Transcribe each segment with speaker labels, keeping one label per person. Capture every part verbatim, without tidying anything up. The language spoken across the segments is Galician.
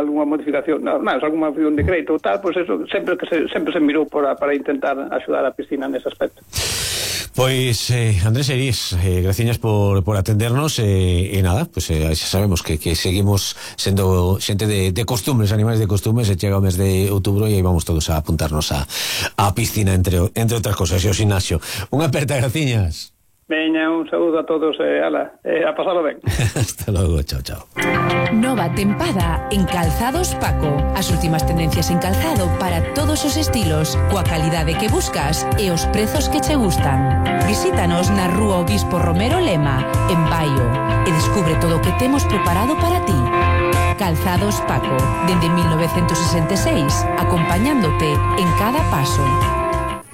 Speaker 1: algunha modificación, non, máis, algunha modificación de crédito ou tal, pois pues eso, sempre que se, sempre se mirou para, para intentar axudar a piscina nese aspecto.
Speaker 2: Pois, eh, Andrés Eirís, eh, graciñas por, por atendernos e eh, eh, nada, pois pues, eh, xa sabemos que, que seguimos sendo xente de, de costumes, animais de costumes, e chega o mes de outubro e aí vamos todos a apuntarnos a, a piscina, entre, entre outras cosas, e o gimnasio. Unha aperta, graciñas.
Speaker 1: Veña, un saúdo a todos, eh, ala, eh, a pasalo ben.
Speaker 2: Hasta logo, chao, chao.
Speaker 3: Nova tempada en Calzados Paco. As últimas tendencias en calzado para todos os estilos, coa calidade que buscas e os prezos que che gustan. Visítanos na Rúa Obispo Romero Lema, en Baio, e descubre todo o que temos preparado para ti. Calzados Paco, dende mil novecentos sesenta e seis, acompañándote en cada paso.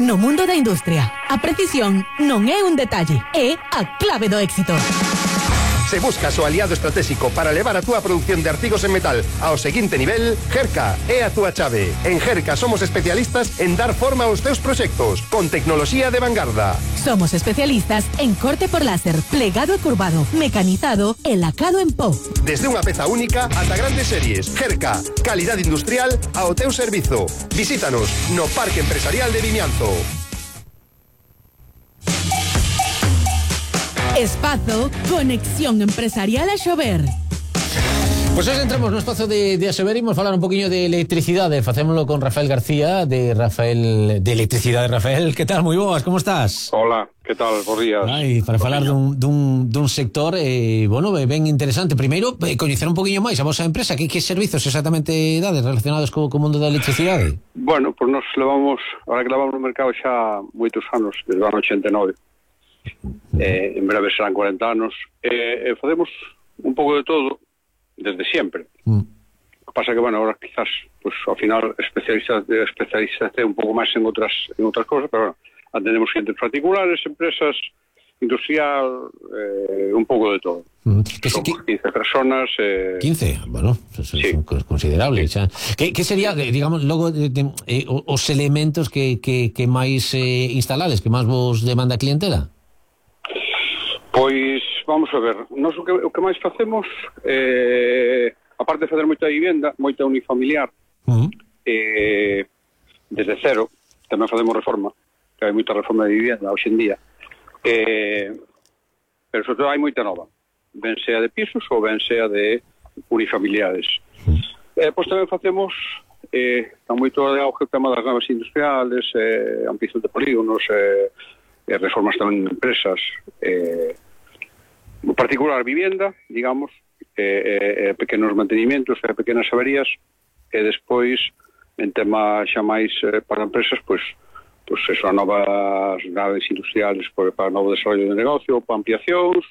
Speaker 4: No mundo da industria, a precisión non é un detalle, é a clave do éxito.
Speaker 5: Se buscas o aliado estratégico para levar a túa producción de artigos en metal ao seguinte nivel, Gerca é a túa chave. En Gerca somos especialistas en dar forma aos teus proxectos, con tecnoloxía de vanguarda.
Speaker 4: Somos especialistas en corte por láser, plegado e curvado, mecanizado e lacado en pó.
Speaker 5: Desde unha peza única ata grandes series. Gerca, calidad industrial ao teu servizo. Visítanos no Parque Empresarial de Vimianzo.
Speaker 4: Espazo Conexión Empresarial a Xover.
Speaker 2: Pois pues hoxe entramos no espazo de, de Axover e imos falar un poquinho de electricidade. Facémolo con Rafael García, de Rafael de Electricidade. Rafael, que tal? Moi boas, como estás?
Speaker 6: Hola, que tal? Bos días.
Speaker 2: Ai, para falar dun, dun, dun sector eh, bueno, ben interesante. Primeiro, eh, coñecer un poquinho máis a vosa empresa. Que, que servizos exactamente dades relacionados co, co mundo da electricidade?
Speaker 6: Bueno, pois pues nos levamos, ahora que levamos no mercado xa moitos anos, desde o ano ochenta e nove. Eh, en breve serán cuarenta anos. Eh, eh, facemos un pouco de todo desde sempre. Mm. O que pasa que, bueno, ahora quizás, pues, ao final, especialistas de especialistas un pouco máis en outras en outras cosas, pero bueno, atendemos xentes particulares, empresas, industrial, eh, un pouco de todo. Mm. Que son que, quince personas. Eh...
Speaker 2: quince? Bueno, son, sí. Son considerables. Sí. Que, que sería, digamos, logo de, de, eh, os elementos que, que, que máis eh, instalades, que máis vos demanda a clientela?
Speaker 6: Pois, vamos a ver, nós o que, o que máis facemos, eh, aparte de fazer moita vivenda, moita unifamiliar, uh-huh. eh, desde cero, tamén facemos reforma, que hai moita reforma de vivenda hoxe en día, eh, pero sobre todo hai moita nova, ben sea de pisos ou ben sea de unifamiliares. Uh-huh. Eh, pois tamén facemos, eh, está moito de auge o tema das naves industriales, eh, ampliación de polígonos, eh, eh, reformas tamén en empresas, eh, en particular vivienda, digamos, eh, eh, pequenos mantenimentos, eh, pequenas averías, e despois, en tema xa máis eh, para empresas, pois, pois eso, novas naves industriales para, para novo desarrollo de negocio, para ampliacións,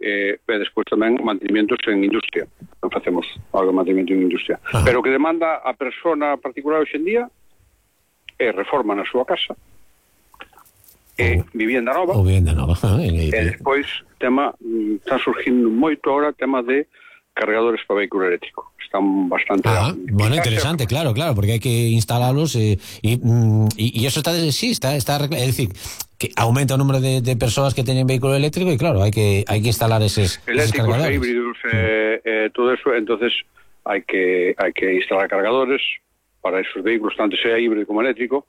Speaker 6: eh, e despois tamén mantenimentos en industria. Non facemos algo de mantenimento en industria. Ah. Pero o que demanda a persona particular hoxe en día é reforma na súa casa, e vivienda nova,
Speaker 2: o vivienda nova.
Speaker 6: E despois tema, está surgindo moito ahora tema de cargadores para vehículo eléctrico. Están bastante...
Speaker 2: Ah, bueno, interesante, claro, claro, porque hai que instalalos e e, e eso está, sí, está, está, é dicir, que aumenta o número de, de persoas que teñen vehículo eléctrico e claro, hai que hai que instalar eses, eses cargadores.
Speaker 6: Híbridos, eh, eh, todo eso, entonces hai que hai que instalar cargadores para esos vehículos, tanto sea híbrido como eléctrico.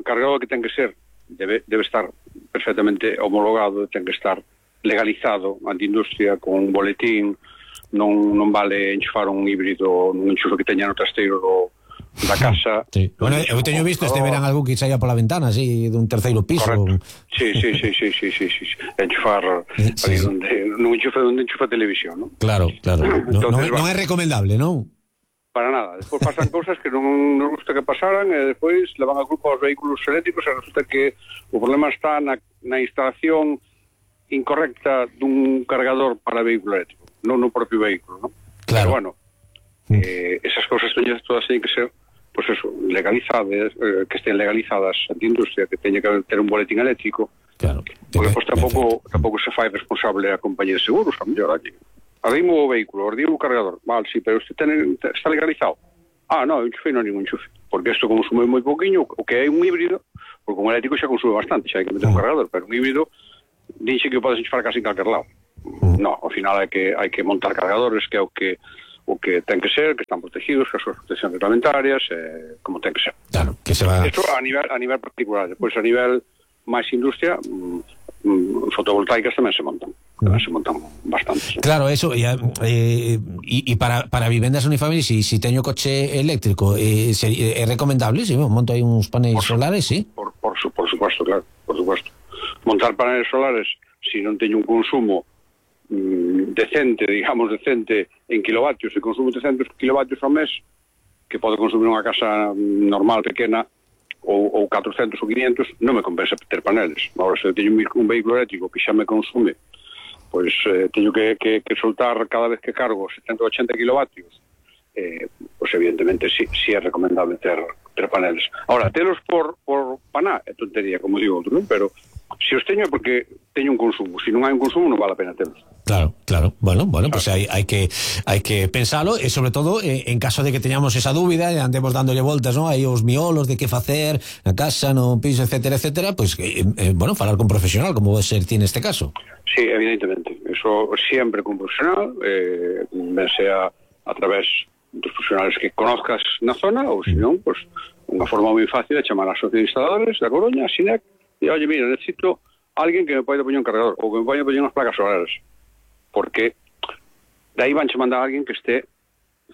Speaker 6: Cargador que ten que ser Debe, debe estar perfectamente homologado, ten que estar legalizado ante industria con un boletín, non, non vale enchufar un híbrido nun enchufe que teña no trasteiro do, da casa.
Speaker 2: Sí. Bueno, eu teño visto este verán algún que saia pola ventana, así, dun terceiro piso.
Speaker 6: Correcto. Sí, sí, sí, sí, sí, sí, sí. Enchufar sí, sí. Donde, nun enchufe onde enchufa televisión, ¿no?
Speaker 2: Claro, claro. No, Entonces, non, non é recomendable, non?
Speaker 6: Para nada, despois pasan cousas que non nos gusta que pasaran e despois levan a culpa aos vehículos eléctricos e resulta que o problema está na, na instalación incorrecta dun cargador para vehículo eléctrico, non no propio vehículo, ¿no?
Speaker 2: Claro.
Speaker 6: Pero bueno, eh, esas cousas teñen todas teñen que ser, pues eso, legalizadas, eh, que estén legalizadas ante industria, que teña que ter un boletín eléctrico.
Speaker 2: Claro.
Speaker 6: Porque despois tampouco, tampouco se fai responsable a compañía de seguros, a mellor aquí. Arrimo o vehículo, arrimo o cargador. Vale, sí, pero usted ten, está legalizado. Ah, no, enchufe non ningún enchufe. Porque isto consume moi pouquiño, o que é un híbrido, porque un eléctrico xa consume bastante, xa hai que meter un cargador, pero un híbrido, dixe que o podes enchufar casi en calquer lado. No, ao final hai que hai que montar cargadores, que é o que o que ten que ser, que están protegidos, que as súas proteccións reglamentarias, eh, como ten que ser.
Speaker 2: Claro, que se va...
Speaker 6: Eso a nivel, a nivel particular. Depois, a nivel máis industria, mm, fotovoltaicas tamén se montan. Tamén se montan bastante.
Speaker 2: Claro, eso, e eh, y, y para, para vivendas unifamiliares, si, si teño coche eléctrico, eh, se, é recomendable, si monto aí uns paneles por, solares, sí?
Speaker 6: Por, por, por supuesto, claro, por supuesto. Montar paneles solares, si non teño un consumo decente, digamos decente en kilovatios, se consumo trescentos kilovatios ao mes, que pode consumir unha casa normal, pequena, ou, ou catrocentos ou quinientos, non me compensa ter paneles. Agora, se teño un vehículo eléctrico que xa me consume, pois eh, teño que, que, que soltar cada vez que cargo setenta ou ochenta kilovatios, eh, pois evidentemente si, si é recomendable ter, ter paneles. Ahora, telos por, por paná é tontería, como digo outro, non? Pero se os teño é porque teño un consumo. Se non hai un consumo non vale a pena telos.
Speaker 2: Claro, claro. Bueno, bueno, pues hay, hay que hay que pensarlo e sobre todo eh, en caso de que teñamos esa dúbida e andemos dándolle voltas, ¿no? Aí os miolos de que facer na casa, no piso, etcétera, etcétera, pues eh, eh, bueno, falar con profesional, como vai ser ti neste caso.
Speaker 6: Sí, evidentemente. Eso siempre con profesional, eh, ben sea a través dos profesionales que conozcas na zona ou, se non, pues unha forma moi fácil de chamar a Asociación de Instaladores da Coruña, a SINEC, e, oye, mira, necesito alguén que me poida poñer un cargador ou que me poida poñer unhas placas solares, porque de aí vanche mandar a alguén que este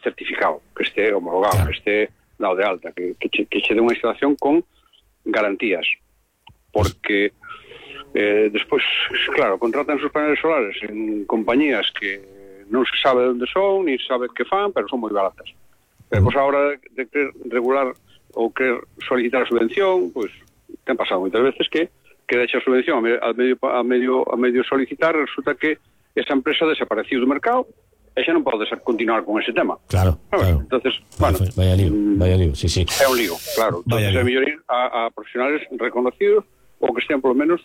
Speaker 6: certificado, que este homologado, claro, que este dado de alta, que, que, che, que che dé unha instalación con garantías, porque eh, despois, claro, contratan sus paneles solares en compañías que non se sabe onde son, ni se sabe que fan, pero son moi baratas. Pero pois, a hora de querer regular ou querer solicitar a subvención, pois ten pasado moitas veces que que deixa a subvención a medio, a medio, a medio solicitar, resulta que esa empresa desapareciu do mercado e xa non pode continuar con ese tema.
Speaker 2: Claro, claro.
Speaker 6: Entonces, bueno,
Speaker 2: vaya lío, vaya lío, sí, sí.
Speaker 6: É un lío, claro. Entonces, é mellor ir a, a profesionales reconocidos ou que estén polo menos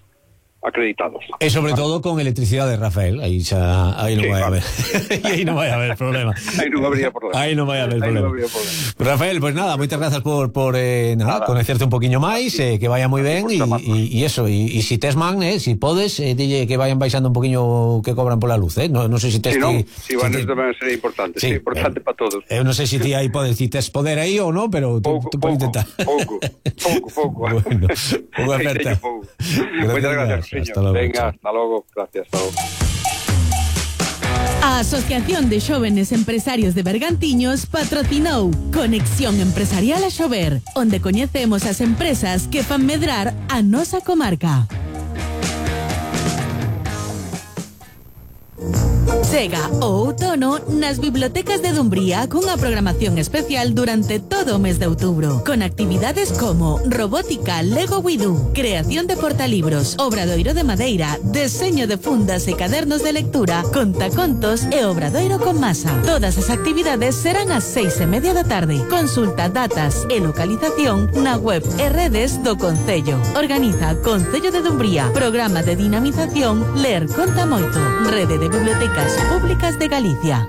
Speaker 6: acreditados.
Speaker 2: E sobre todo con electricidade, Rafael, aí xa aí non sí, vai
Speaker 6: vale.
Speaker 2: haber. aí non vai haber problema.
Speaker 6: aí non habría problema.
Speaker 2: Aí non vai haber problema.
Speaker 6: No problema.
Speaker 2: Rafael, pues nada, moitas grazas por por eh, nada, nada, conocerte un poquinho máis, eh, que vaya moi ben e e eso, e si tes man, eh, si podes, eh, dille que vayan baixando un poquinho que cobran pola luz, eh. No, non sei se tes
Speaker 6: si no,
Speaker 2: ti,
Speaker 6: si van si tamén sería importante, sí, sí importante eh, para todos.
Speaker 2: Eu non sei se ti aí podes, si tes poder aí ou non, pero tú,
Speaker 6: pouco,
Speaker 2: tú podes intentar.
Speaker 6: Pouco, pouco, pouco.
Speaker 2: Bueno, unha aperta.
Speaker 6: Moitas gracias, señor. Venga, hasta logo, gracias, hasta logo.
Speaker 4: A Asociación de Xóvenes Empresarios de Bergantiños patrocinou Conexión Empresarial a Xover, onde coñecemos as empresas que fan medrar a nosa comarca. Chega o outono nas bibliotecas de Dumbría cunha programación especial durante todo o mes de outubro, con actividades como robótica Lego Widú, creación de portalibros, obradoiro de madeira, deseño de fundas e cadernos de lectura, contacontos e obradoiro con masa. Todas as actividades serán ás seis e media da tarde. Consulta datas e localización na web e redes do Concello. Organiza Concello de Dumbría, programa de dinamización Ler Conta Moito, Rede de Bibliotecas Públicas de Galicia.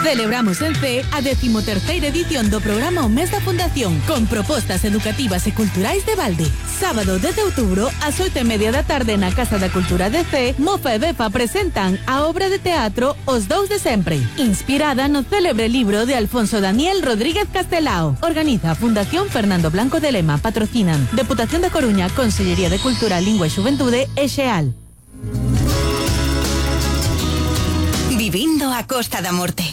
Speaker 4: Celebramos en C a decimoterceira edición do programa O Mes da Fundación, con propostas educativas e culturais de balde. Sábado dez de outubro, ás oito e media da tarde na Casa da Cultura de C, Mofa e Befa presentan a obra de teatro Os Dous de Sempre, inspirada no célebre libro de Alfonso Daniel Rodríguez Castelao. Organiza a Fundación Fernando Blanco de Lema, patrocinan Deputación da Coruña, Consellería de Cultura, Lingua e Xuventude e Xeal.
Speaker 3: Vivindo a Costa da Morte.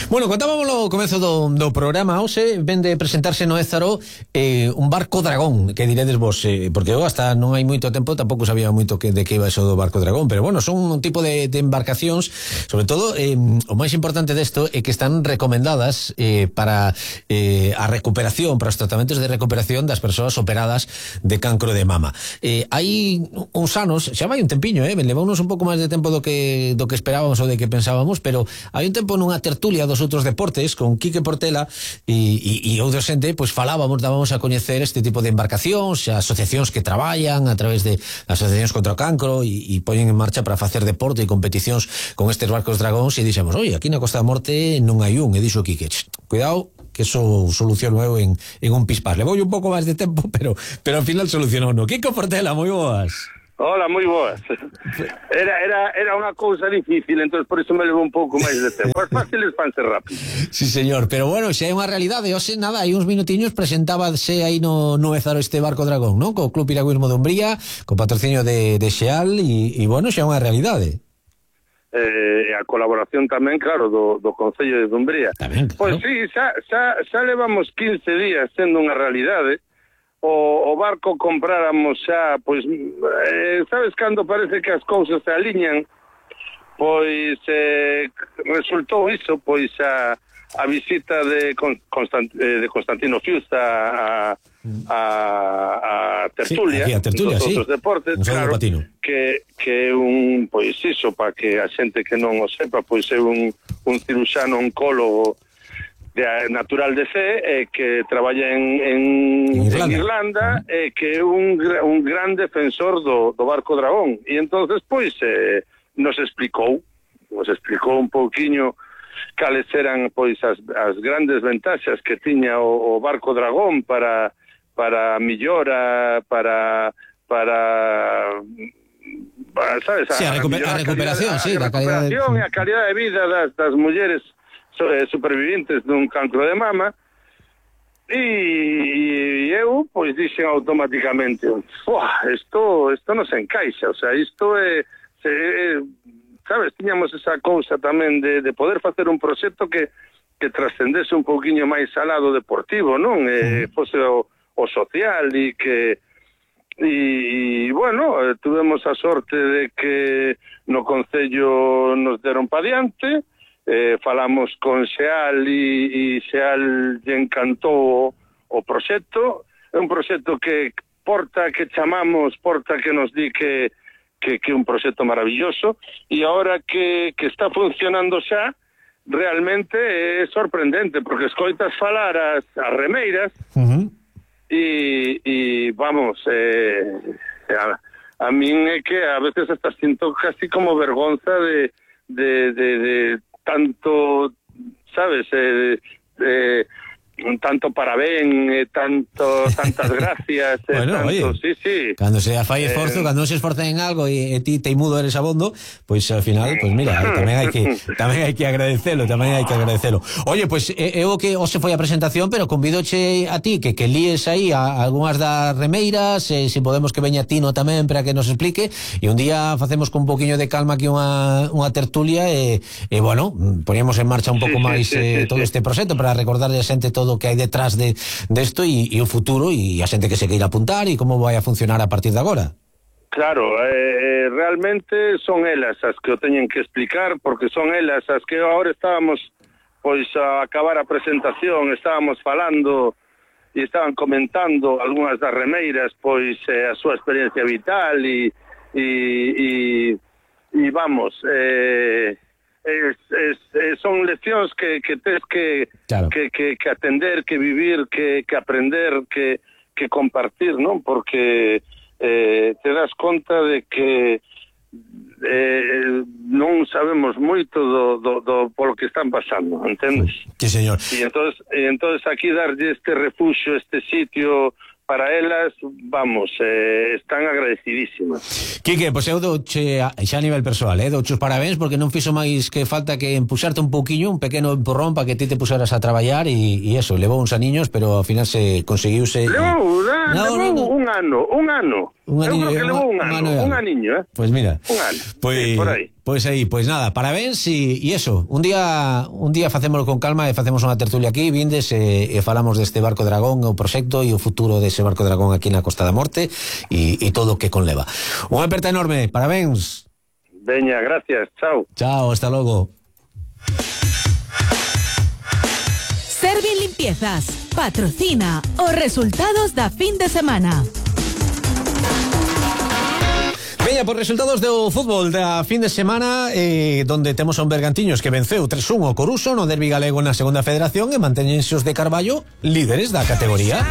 Speaker 2: Bueno, contábamos no comezo do, do programa. Hoxe vende presentarse no Ézaro eh, un barco dragón, que diredes vos, eh, porque eu hasta non hai moito tempo tampouco sabía moito que, de que iba eso do barco dragón, pero bueno, son un tipo de, de embarcacións, sobre todo eh, o máis importante desto é que están recomendadas eh, para eh, a recuperación, para os tratamentos de recuperación das persoas operadas de cancro de mama. Eh, hai uns anos, xa vai un tempiño, eh, levounos un pouco máis de tempo do que do que esperábamos ou de que pensábamos, pero hai un tempo nunha tertulia dos outros deportes con Quique Portela e, e, e outro xente, pois falábamos, dábamos a coñecer este tipo de embarcacións, asociacións que traballan a través de asociacións contra o cancro e, e poñen en marcha para facer deporte e competicións con estes barcos dragóns e dixemos, oi, aquí na Costa da Morte non hai un, e dixo Quique, cuidado que eso soluciono eu en, en un pispás. Le vou un pouco máis de tempo, pero pero ao final solucionou no. Quique Portela, moi boas.
Speaker 7: Hola, moi boas. Era, era, era unha cousa difícil, entón por iso me levou un pouco máis de tempo. As fáciles van ser rápido.
Speaker 2: Sí, señor, pero bueno, xa é unha realidade. Ose, nada, hai uns minutiños presentábase aí no, no Ézaro este Barco Dragón, non? Co Club Piragüismo de Umbría, co patrocinio de, de Xeal, e, e bueno, xa é unha realidade.
Speaker 7: Eh, a colaboración tamén, claro, do, do Concello de Dumbría.
Speaker 2: Tamén, claro.
Speaker 7: Pois sí, xa, xa, xa levamos quince días sendo unha realidade. O, o barco compráramos xa, pois, eh, sabes cando parece que as cousas se aliñan? Pois eh, resultou iso, pois a, a visita de, Constant, de Constantino Fius a, a, a tertulia,
Speaker 2: sí, a tertulia,
Speaker 7: dos
Speaker 2: sí.
Speaker 7: outros deportes,
Speaker 2: un
Speaker 7: claro, que, que un, pois iso, para que a xente que non o sepa, pois é un, un ciruxano oncólogo de, natural de Cee, eh, que traballa en, en, Irlanda, en Irlanda uh-huh. eh, que é un, un gran defensor do, do Barco Dragón. E entonces pois eh, nos explicou, nos explicou un pouquiño cales eran pois as, as grandes ventaxas que tiña o, o Barco Dragón para para millora, para para para, sabes,
Speaker 2: sí, a, recuper, a, a recuperación, sí,
Speaker 7: a, a recuperación e a calidad de vida das, das mulleres supervivientes dun cancro de mama. E eu pois dixen automáticamente, isto isto non se encaixa, o sea, isto é, se, é sabes, tiñamos esa cousa tamén de, de poder facer un proxecto que, que trascendese un pouquiño máis al lado deportivo, non? Eh, fose o, o social e que e, e bueno, eh, tuvemos a sorte de que no Concello nos deron pa diante. Eh, falamos con Xeal e, e Xeal lle encantou o, o proxecto. É un proxecto que porta, que chamamos, porta que nos di que que é un proxecto maravilloso, e agora que, que está funcionando xa, realmente é sorprendente, porque escoitas falar as, as remeiras uh-huh. e, e vamos, eh, a, a min é que a veces hasta sinto casi como vergonza de de, de, de tanto, sabes, eh, eh, tanto parabén, eh, tanto tantas gracias, eh,
Speaker 2: bueno,
Speaker 7: tanto,
Speaker 2: oye,
Speaker 7: sí, sí.
Speaker 2: Cando se fai esforzo, eh, cando non se esforza en algo e, e ti teimudo eres abondo, pois pues, ao final, pois pues, mira, tamén hai que tamén hai que agradecelo, tamén hai que agradecelo. Oye, pois pues, eu que hoxe foi a presentación, pero convidoche a ti que que líes aí a, a algunhas das remeiras, e se podemos que veña Tino tamén para que nos explique, e un día facemos con un poquinho de calma aquí unha unha tertulia e, e bueno, poñemos en marcha un pouco sí, máis sí, sí, eh, todo sí. este proxecto para recordarle a xente todo o que hai detrás de desto de e, e o futuro e a xente que se queira apuntar e como vai a funcionar a partir de agora.
Speaker 7: Claro, eh, realmente son elas as que o teñen que explicar, porque son elas as que agora estábamos pois a acabar a presentación, estábamos falando e estaban comentando algunhas das remeiras, pois eh, a súa experiencia vital e e, e, e vamos, eh Es, es, es, son leccións que, que tes que, claro. que, que, que atender, que vivir, que, que aprender, que, que compartir, non? Porque eh, te das conta de que eh, non sabemos moito do, do, do polo que están pasando, entendes?
Speaker 2: Sí, señor.
Speaker 7: E entonces, e entonces aquí darlle este refuxio, este sitio para elas, vamos, eh, están agradecidísimas.
Speaker 2: Quique, pois eu douche xa a nivel persoal, eh, douche os parabéns porque non fixo máis que falta que empuxarte un pouquiño, un pequeno empurrón para que ti te puxeras a traballar e, e eso, levou uns aniños, pero ao final se conseguiuse.
Speaker 7: Levou, da,
Speaker 2: no,
Speaker 7: levou no, no. un ano, un ano.
Speaker 2: Un
Speaker 7: eu
Speaker 2: aniño,
Speaker 7: creo que levou un ano, un, un aniño, eh.
Speaker 2: Pois pues mira.
Speaker 7: Un ano.
Speaker 2: Pois
Speaker 7: sí, por aí.
Speaker 2: Pois aí, pois nada, parabéns e, e eso, un día un día facémoslo con calma e facemos unha tertulia aquí, vindes e, e falamos deste Barco Dragón, o proxecto e o futuro dese Barco Dragón aquí na Costa da Morte e, e todo o que conleva. Unha aperta enorme, parabéns.
Speaker 7: Veña, gracias, chao.
Speaker 2: Chao, hasta logo.
Speaker 4: Servin Limpiezas patrocina os resultados da fin de semana.
Speaker 2: Veña, por resultados do fútbol da fin de semana, eh, donde temos a un Bergantiños que venceu tres uno o Coruso no derbi galego na segunda federación e manteñense os de Carballo líderes da categoría.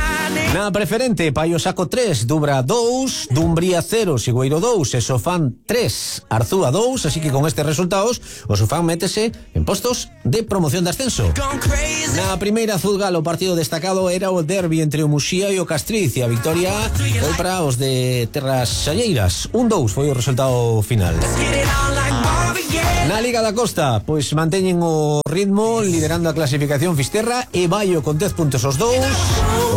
Speaker 2: Na preferente, Paio Saco tres, Dubra dous, Dumbría cero, Sigüeiro dous e Sofán tres, Arzúa dous, así que con estes resultados o Sofán métese en postos de promoción de ascenso. Na primeira Zuzgal o partido destacado era o derbi entre o Muxía e o Castriz, e a victoria foi para os de Terras Xalleiras. un dous foi o resultado final. Na Liga da Costa, pois manteñen o ritmo liderando a clasificación Fisterra e Baio con dez puntos os dous.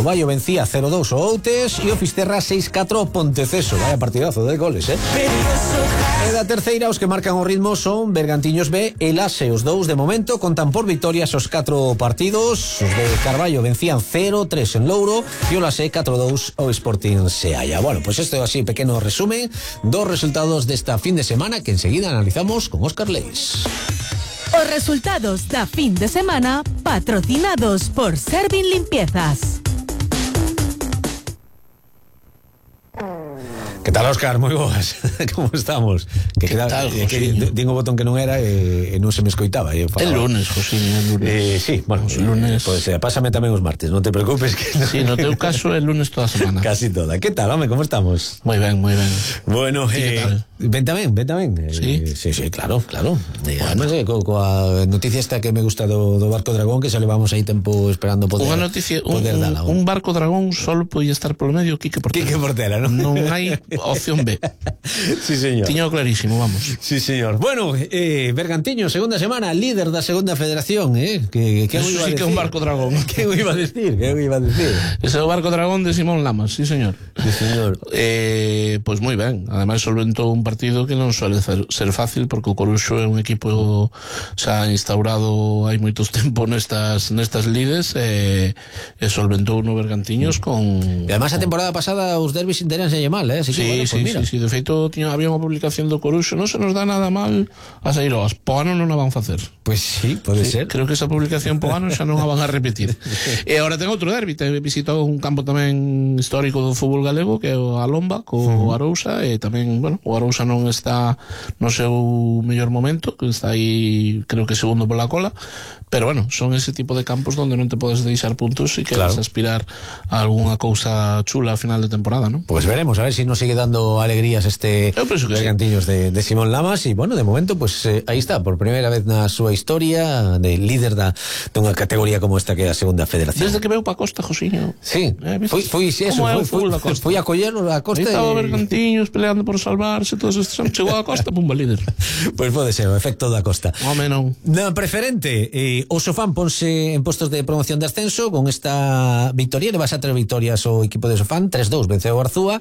Speaker 2: O Baio vencía cero dous o Outes e o Fisterra seis catro o Ponteceso. Vaya partidazo de goles, eh? E da terceira, os que marcan o ritmo son Bergantiños B e Lase. Os dous de momento contan por victorias os catro partidos. Os de Carballo vencían cero tres en Louro e o Lase catro dous o Sporting Seaya. Bueno, pues esto así, pequeno resumen dos resultados desta fin de semana que enseguida analizamos con Óscar Leis.
Speaker 4: Os resultados da fin de semana patrocinados por Servin Limpiezas.
Speaker 2: Que tal, Óscar? Moi boas. Como estamos? Que,
Speaker 8: que
Speaker 2: queda,
Speaker 8: tal,
Speaker 2: eh, que digo o botón que non era e, e non se me escoitaba.
Speaker 8: El lunes, José, el lunes.
Speaker 2: Eh, sí, bueno,
Speaker 8: el lunes.
Speaker 2: Pois pues, eh, pásame tamén os martes, non te preocupes que no...
Speaker 8: Sí, no teu caso el lunes toda a semana.
Speaker 2: Casi toda. Que tal, home, como estamos?
Speaker 8: Moi ben, moi ben.
Speaker 2: Bueno, eh, ven tamén, ven tamén.
Speaker 8: Sí,
Speaker 2: eh, sí, sí, claro, claro. Eh, además, eh, co, coa noticia esta que me gusta do, do Barco Dragón, que xa levamos aí tempo esperando poder.
Speaker 8: Unha noticia, un,
Speaker 2: poder dala,
Speaker 8: un Barco Dragón solo podía estar polo medio Quique Portela.
Speaker 2: Quique Portela, non?
Speaker 8: Non hai opción B.
Speaker 2: Sí, señor.
Speaker 8: Tiño clarísimo, vamos.
Speaker 2: Sí, señor. Bueno, eh, Bergantiño, segunda semana, líder da segunda federación, eh? Que, que
Speaker 8: Eso sí que é un Barco Dragón.
Speaker 2: Que iba a decir? Que iba a decir?
Speaker 8: Ese é o Barco Dragón de Simón Lamas, sí, señor.
Speaker 2: Sí, señor.
Speaker 8: Eh, pois pues moi ben. Ademais solventou un partido que non suele ser fácil, porque o Coruxo é un equipo xa instaurado hai moitos tempo nestas nestas lides, e, e solventou no Bergantiños con...
Speaker 2: E ademais a temporada pasada os derbis interanse mal, eh? Así que,
Speaker 8: sí,
Speaker 2: bueno,
Speaker 8: sí,
Speaker 2: pues mira.
Speaker 8: sí, sí, de feito tiña, había unha publicación do Coruxo, non se nos dá nada mal a sair hoas, po ano non a van facer.
Speaker 2: Pois pues sí, pode
Speaker 8: sí,
Speaker 2: ser.
Speaker 8: Creo que esa publicación po ano xa non a van a repetir. E agora ten outro derbi, te visitou un campo tamén histórico do fútbol galego, que é o Alomba, co uh-huh. Arousa, e tamén, bueno, o Arousa non está no seu mellor momento, que está aí, creo que segundo pola cola, pero bueno, son ese tipo de campos donde non te podes deixar puntos e queres claro. aspirar a algunha cousa chula a final de temporada, ¿no?
Speaker 2: Pues veremos, a ver si nos sigue dando alegrías este Bergantiños sí. de, de Simón Lamas, y bueno, de momento, pues eh, aí está, por primeira vez na súa historia, de líder da dunha categoría como esta que é a segunda federación.
Speaker 8: Desde que veu pa Costa, Josiño.
Speaker 2: Sí, eh, foi, foi eso, foi, foi, foi a collerlo a Costa.
Speaker 8: Aí estaba e... Bergantiños peleando por salvarse, todos estes anos, chegou a Costa, pumba, líder.
Speaker 2: Pois pues pode ser, o efecto da Costa.
Speaker 8: Home, non.
Speaker 2: Na preferente, eh, o Sofán ponse en postos de promoción de ascenso con esta victoria, le vas a tres victorias o equipo de Sofán, tres dous venceu o Arzúa,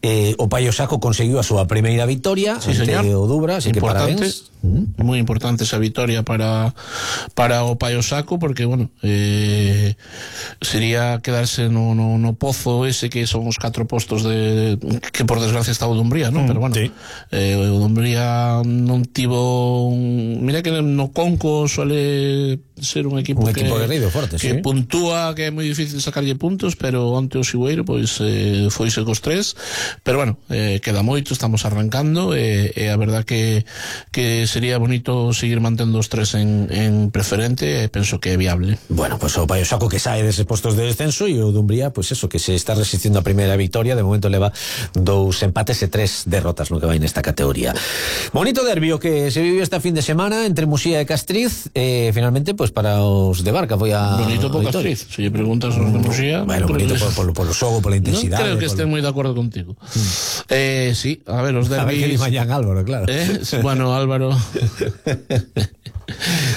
Speaker 2: eh, o Paio Saco conseguiu a súa primeira victoria
Speaker 8: sí,
Speaker 2: ante
Speaker 8: señor.
Speaker 2: o Dubra, así
Speaker 8: importante,
Speaker 2: que parabéns. Mm.
Speaker 8: Moi importante esa victoria para para o Paio Saco, porque, bueno, eh, sería quedarse no, no, no pozo ese que son os catro postos de, que por desgracia está o Dumbría, ¿no? Mm, pero bueno, sí. eh, o Dumbría non tivo un, mira que no Conco suele ser un equipo
Speaker 2: un
Speaker 8: que,
Speaker 2: equipo guerrido forte,
Speaker 8: que
Speaker 2: sí.
Speaker 8: puntúa, que é moi difícil sacarlle puntos, pero onte o Sigüeiro pois eh, foise cos tres, pero bueno, eh, queda moito, estamos arrancando, e eh, eh, a verdad que que sería bonito seguir mantendo os tres en, en preferente, e penso que é viable.
Speaker 2: Bueno, pues o Paio Saco que sae deses postos de descenso, e o Dumbría, pues eso, que se está resistindo a primeira victoria, de momento leva dous empates e tres derrotas no que vai nesta categoría. Bonito derbi o que se viviu esta fin de semana entre Muxía e Castriz, e eh, finalmente, pues para os de Barca foi a
Speaker 8: bonito por Castriz, se lle preguntas aos de Muxía,
Speaker 2: bueno, bonito por, por, por o xogo, por la intensidade.
Speaker 8: Non creo que
Speaker 2: por...
Speaker 8: estén moi de acordo contigo. Mm. Eh, sí, a ver, os derbis...
Speaker 2: A ver que dimañan Álvaro, claro.
Speaker 8: Eh, bueno, Álvaro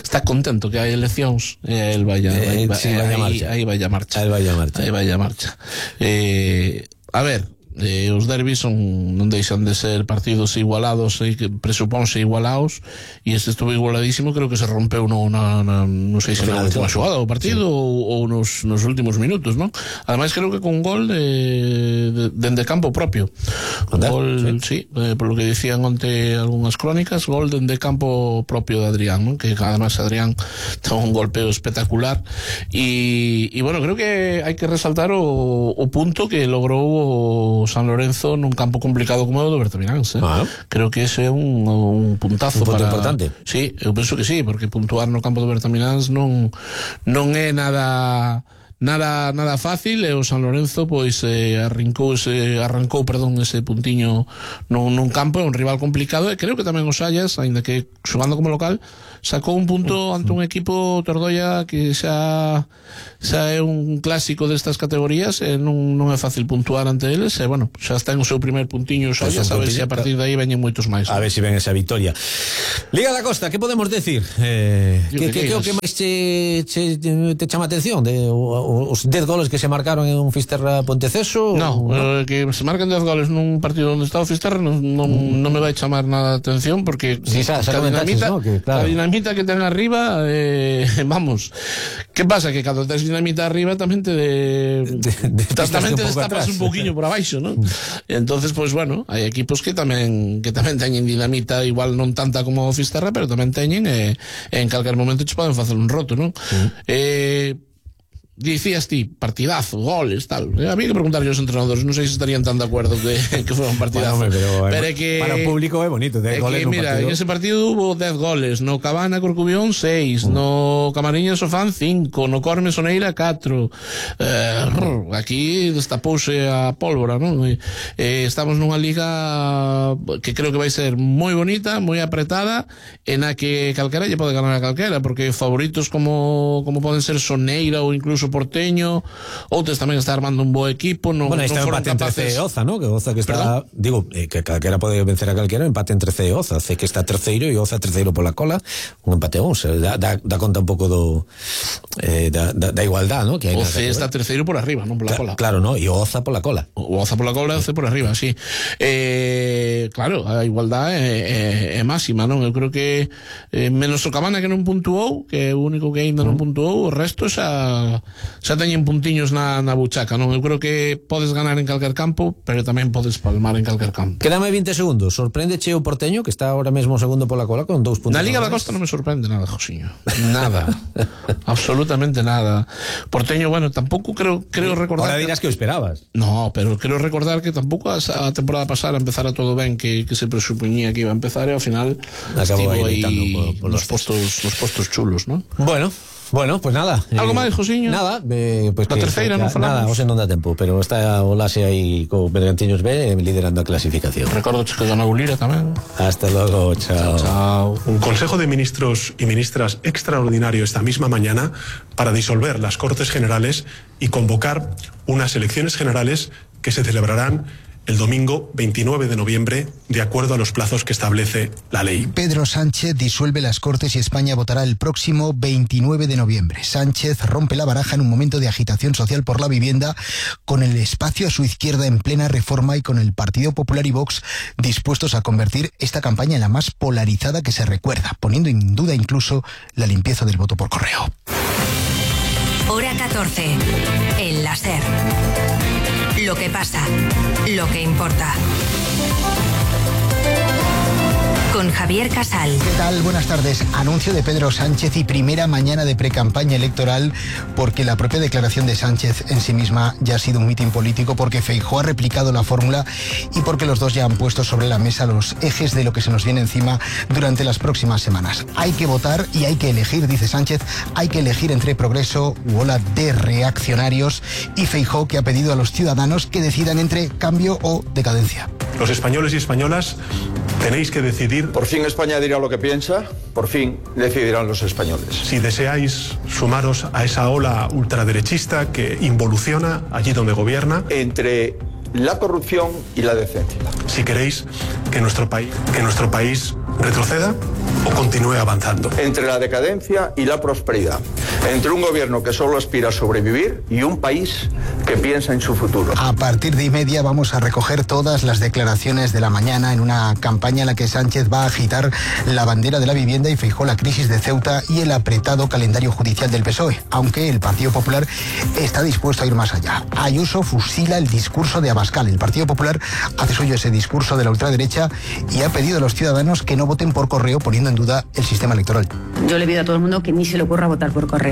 Speaker 8: está contento que hai eleccións, e eh, el vai a,
Speaker 2: eh,
Speaker 8: vai,
Speaker 2: sí, vai a marcha.
Speaker 8: Aí vai a marcha.
Speaker 2: Aí vai a marcha.
Speaker 8: Aí vai a marcha. Eh, a ver, eh, os derbis son, non deixan de ser partidos igualados, e que presupónse igualados, e este estuvo igualadísimo, creo que se rompeu no, na, na, non sei se na última xogada do partido, sí. ou, ou nos, nos últimos minutos, non? Ademais creo que con gol de, de, dende campo propio. Gol, sí, sí eh, por lo que dicían onte algunhas crónicas, gol dende campo propio de Adrián, non? Que además Adrián ten un golpeo espectacular, e, e bueno, creo que hai que resaltar o, o punto que logrou o o San Lorenzo nun campo complicado como o do Bertamiráns, eh? Ah. Creo que ese é un, un puntazo
Speaker 2: un punto
Speaker 8: para...
Speaker 2: importante.
Speaker 8: Sí, eu penso que sí, porque puntuar no campo do Bertamiráns non non é nada nada nada fácil, e o San Lorenzo pois eh, arrancou ese arrancou, perdón, ese puntiño nun, nun campo, é un rival complicado, e creo que tamén o Sallas, aínda que xogando como local, sacou un punto ante un equipo Tordoia que xa xa é un clásico destas categorías, e non, non é fácil puntuar ante eles, e bueno, xa está en o seu primer puntiño o Sallas, a ver se a partir de aí veñen moitos máis.
Speaker 2: A ver se ven esa victoria. Liga da Costa, que podemos decir? Eh, que, que, que, que o que máis te, te, te chama atención de o, os dez goles que se marcaron en un Fisterra Ponteceso?
Speaker 8: No, ¿no? Eh, que se marquen dez goles nun partido onde está o Fisterra non, non, mm. non me vai chamar nada de atención, porque
Speaker 2: sí, xa, xa
Speaker 8: dinamita,
Speaker 2: ¿no? Que, claro.
Speaker 8: A dinamita que ten arriba, eh, vamos, que pasa? Que cando tes dinamita arriba tamén te de, de, de tamén te destapas un pouquiño por abaixo, ¿no? Entonces, pues bueno, hai equipos que tamén que tamén teñen dinamita, igual non tanta como o Fisterra, pero tamén teñen, e eh, en calquer momento che poden facer un roto, ¿no? Mm. Eh Dicías ti, partidazo, goles, tal. Había que preguntarle aos entrenadores, non sei se estarían tan de acuerdo que, que fuera un partidazo.
Speaker 2: Bueno, pero,
Speaker 8: pero é que
Speaker 2: para o público é bonito, dez goles
Speaker 8: que,
Speaker 2: no
Speaker 8: mira,
Speaker 2: partido.
Speaker 8: En ese partido hubo dez goles, no Cabana Corcubión seis, mm. no Camariñas Sofán cinco, no Corme Soneira catro. Eh, aquí destapouse a pólvora, non? Eh, estamos nunha liga que creo que vai ser moi bonita, moi apretada, en a que calquera lle pode ganar a calquera, porque favoritos como como poden ser Soneira ou incluso Porteño, outros tamén está armando un bo equipo, non,
Speaker 2: bueno,
Speaker 8: non foron
Speaker 2: empate
Speaker 8: capaces.
Speaker 2: Entre C e Oza, ¿no? Que Oza que está, ¿perdón? Digo, eh, que calquera pode vencer a calquera, empate entre C e Oza, C que está terceiro e Oza terceiro pola cola, un empate a once, da, da, da conta un pouco do eh, da, da, da igualdad, ¿no? Que hai
Speaker 8: o C está terceiro por arriba, non pola
Speaker 2: Cla
Speaker 8: cola.
Speaker 2: Claro, ¿no? E Oza pola cola.
Speaker 8: O Oza pola cola e o C por arriba, sí. Eh, claro, a igualdad é, é, é máxima, non? Eu creo que eh, menos o Cabana que non puntuou, que é o único que aínda non puntuou, o resto xa xa teñen puntiños na, na buchaca, non? Eu creo que podes ganar en calquer campo, pero tamén podes palmar en calquer campo.
Speaker 2: Quédame vinte segundos. Sorpréndeche o Porteño, que está ahora mesmo segundo pola cola con dous puntos.
Speaker 8: Na Liga da Costa non me sorprende nada, Josiño. Nada. Absolutamente nada. Porteño, bueno, tampouco creo creo recordar.
Speaker 2: Ahora dirás que o esperabas.
Speaker 8: No, pero creo recordar que tampouco a, a temporada pasada empezara todo ben, que, que se presupoñía que iba a empezar, e ao final
Speaker 2: acabou
Speaker 8: estivo aí
Speaker 2: por, por
Speaker 8: los postos, los postos chulos, ¿no?
Speaker 2: Bueno, Bueno, pues nada.
Speaker 8: Algo
Speaker 2: eh,
Speaker 8: máis, Josiño?
Speaker 2: Nada, eh, pues
Speaker 8: la
Speaker 2: que,
Speaker 8: terceira
Speaker 2: que,
Speaker 8: non falamos.
Speaker 2: Nada, hoxe non dá tempo, pero está o Lase aí co Bergantiños B liderando a clasificación.
Speaker 8: Recordo que ganou Lira tamén.
Speaker 2: Hasta luego, chao.
Speaker 8: Chao.
Speaker 9: Un Consejo de Ministros y Ministras extraordinario esta misma mañana para disolver las Cortes Generales y convocar unas elecciones generales que se celebrarán el domingo veintinueve de noviembre, de acuerdo a los plazos que establece la ley.
Speaker 10: Pedro Sánchez disuelve las Cortes y España votará el próximo veintinueve de noviembre. Sánchez rompe la baraja en un momento de agitación social por la vivienda, con el espacio a su izquierda en plena reforma y con el Partido Popular y Vox dispuestos a convertir esta campaña en la más polarizada que se recuerda, poniendo en duda incluso la limpieza del voto por correo.
Speaker 11: Hora catorce. El láser. Lo que pasa, lo que importa. Con Javier Casal.
Speaker 10: ¿Qué tal? Buenas tardes. Anuncio de Pedro Sánchez y primera mañana de precampaña electoral, porque la propia declaración de Sánchez en sí misma ya ha sido un mitin político, porque Feijóo ha replicado la fórmula y porque los dos ya han puesto sobre la mesa los ejes de lo que se nos viene encima durante las próximas semanas. Hay que votar y hay que elegir, dice Sánchez, hay que elegir entre progreso u ola de reaccionarios, y Feijóo, que ha pedido a los ciudadanos que decidan entre cambio o decadencia.
Speaker 9: Los españoles y españolas tenéis que decidir.
Speaker 12: Por fin España dirá lo que piensa, por fin decidirán los españoles.
Speaker 9: Si deseáis sumaros a esa ola ultraderechista que involuciona allí donde gobierna.
Speaker 12: Entre la corrupción y la decencia.
Speaker 9: Si queréis que nuestro país, que nuestro país retroceda o continúe avanzando.
Speaker 12: Entre la decadencia y la prosperidad. Entre un gobierno que solo aspira a sobrevivir y un país que piensa en su futuro.
Speaker 10: A partir de y media vamos a recoger todas las declaraciones de la mañana en una campaña en la que Sánchez va a agitar la bandera de la vivienda y Feijóo la crisis de Ceuta y el apretado calendario judicial del P S O E, aunque el Partido Popular está dispuesto a ir más allá. Ayuso fusila el discurso de Abascal. El Partido Popular hace suyo ese discurso de la ultraderecha y ha pedido a los ciudadanos que no voten por correo, poniendo en duda el sistema electoral.
Speaker 13: Yo le pido a todo el mundo que ni se le ocurra votar por correo.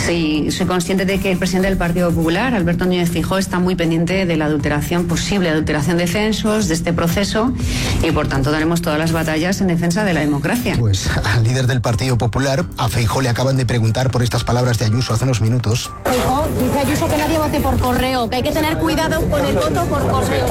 Speaker 13: Sí, soy consciente de que el presidente del Partido Popular, Alberto Núñez Feijóo, está muy pendiente de la adulteración, posible adulteración de censos, de este proceso, y por tanto daremos todas las batallas en defensa de la democracia.
Speaker 10: Pues al líder del Partido Popular, a Feijóo, le acaban de preguntar por estas palabras de Ayuso hace unos minutos.
Speaker 14: Feijóo, dice Ayuso que nadie vote por correo, que hay que tener cuidado con el voto por correo.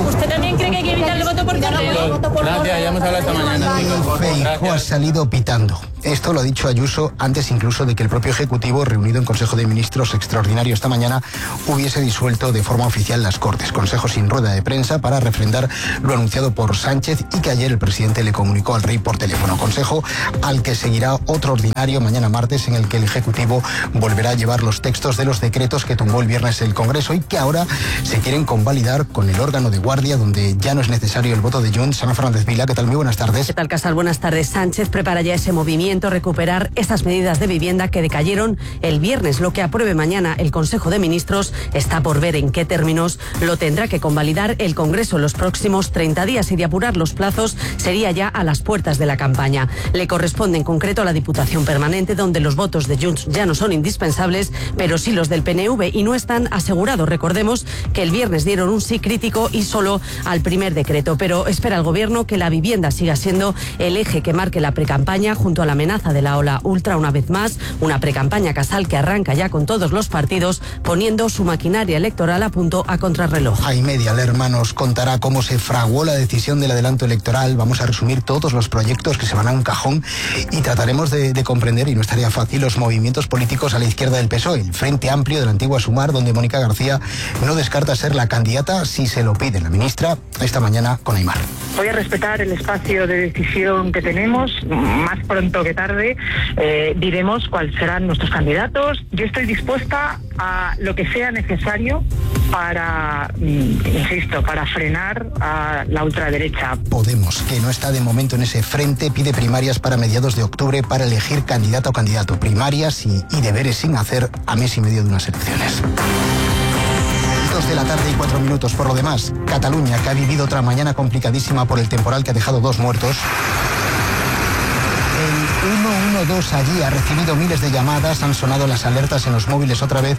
Speaker 14: ¿Usted también cree que hay que evitar el voto por correo?
Speaker 8: Gracias, ya hemos hablado esta mañana.
Speaker 10: Feijóo ha salido pitando. Esto lo ha dicho Ayuso antes incluso de que el propio Ejecutivo, reunido en Consejo de Ministros extraordinario esta mañana, hubiese disuelto de forma oficial las Cortes. Consejo sin rueda de prensa para refrendar lo anunciado por Sánchez y que ayer el presidente le comunicó al rey por teléfono. Consejo al que seguirá otro ordinario mañana martes, en el que el Ejecutivo volverá a llevar los textos de los decretos que tumbó el viernes el Congreso y que ahora se quieren convalidar con el órgano de guardia, donde ya no es necesario el voto de Junts. Ana Fernández Vila, ¿qué tal? Muy buenas tardes.
Speaker 15: ¿Qué tal, Casal? Buenas tardes. Sánchez prepara ya ese movimiento, recuperar estas medidas de vivienda que decayeron el viernes. Lo que apruebe mañana el Consejo de Ministros está por ver en qué términos lo tendrá que convalidar el Congreso en los próximos treinta días, y de apurar los plazos sería ya a las puertas de la campaña. Le corresponde en concreto a la Diputación Permanente, donde los votos de Junts ya no son indispensables, pero sí los del P N V, y no están asegurados. Recordemos que el viernes dieron un sí crítico y solo al primer decreto, pero espera el Gobierno que la vivienda siga siendo el eje que marque la precampaña, junto a la amenaza de la ola ultra, una vez más, una precampaña, Casal, que arranca ya con todos los partidos poniendo su maquinaria electoral a punto a contrarreloj.
Speaker 10: A y media, Lerma nos contará cómo se fraguó la decisión del adelanto electoral. Vamos a resumir todos los proyectos que se van a un cajón y trataremos de, de comprender, y no estaría fácil, los movimientos políticos a la izquierda del P S O E, el Frente Amplio de la antigua Sumar, donde Mónica García no descarta ser la candidata si se lo pide la ministra, esta mañana con Aimar.
Speaker 16: Voy a respetar el espacio de decisión que tenemos. Más pronto que tarde eh, diremos cuáles serán nuestros candidatos. Yo estoy dispuesta a lo que sea necesario para, insisto, para frenar a la ultraderecha.
Speaker 10: Podemos, que no está de momento en ese frente, pide primarias para mediados de octubre para elegir candidato o candidato. Primarias y, y deberes sin hacer a mes y medio de unas elecciones. Dos de la tarde y cuatro minutos. Por lo demás, Cataluña, que ha vivido otra mañana complicadísima por el temporal que ha dejado dos muertos. El uno uno dos allí ha recibido miles de llamadas, han sonado las alertas en los móviles otra vez,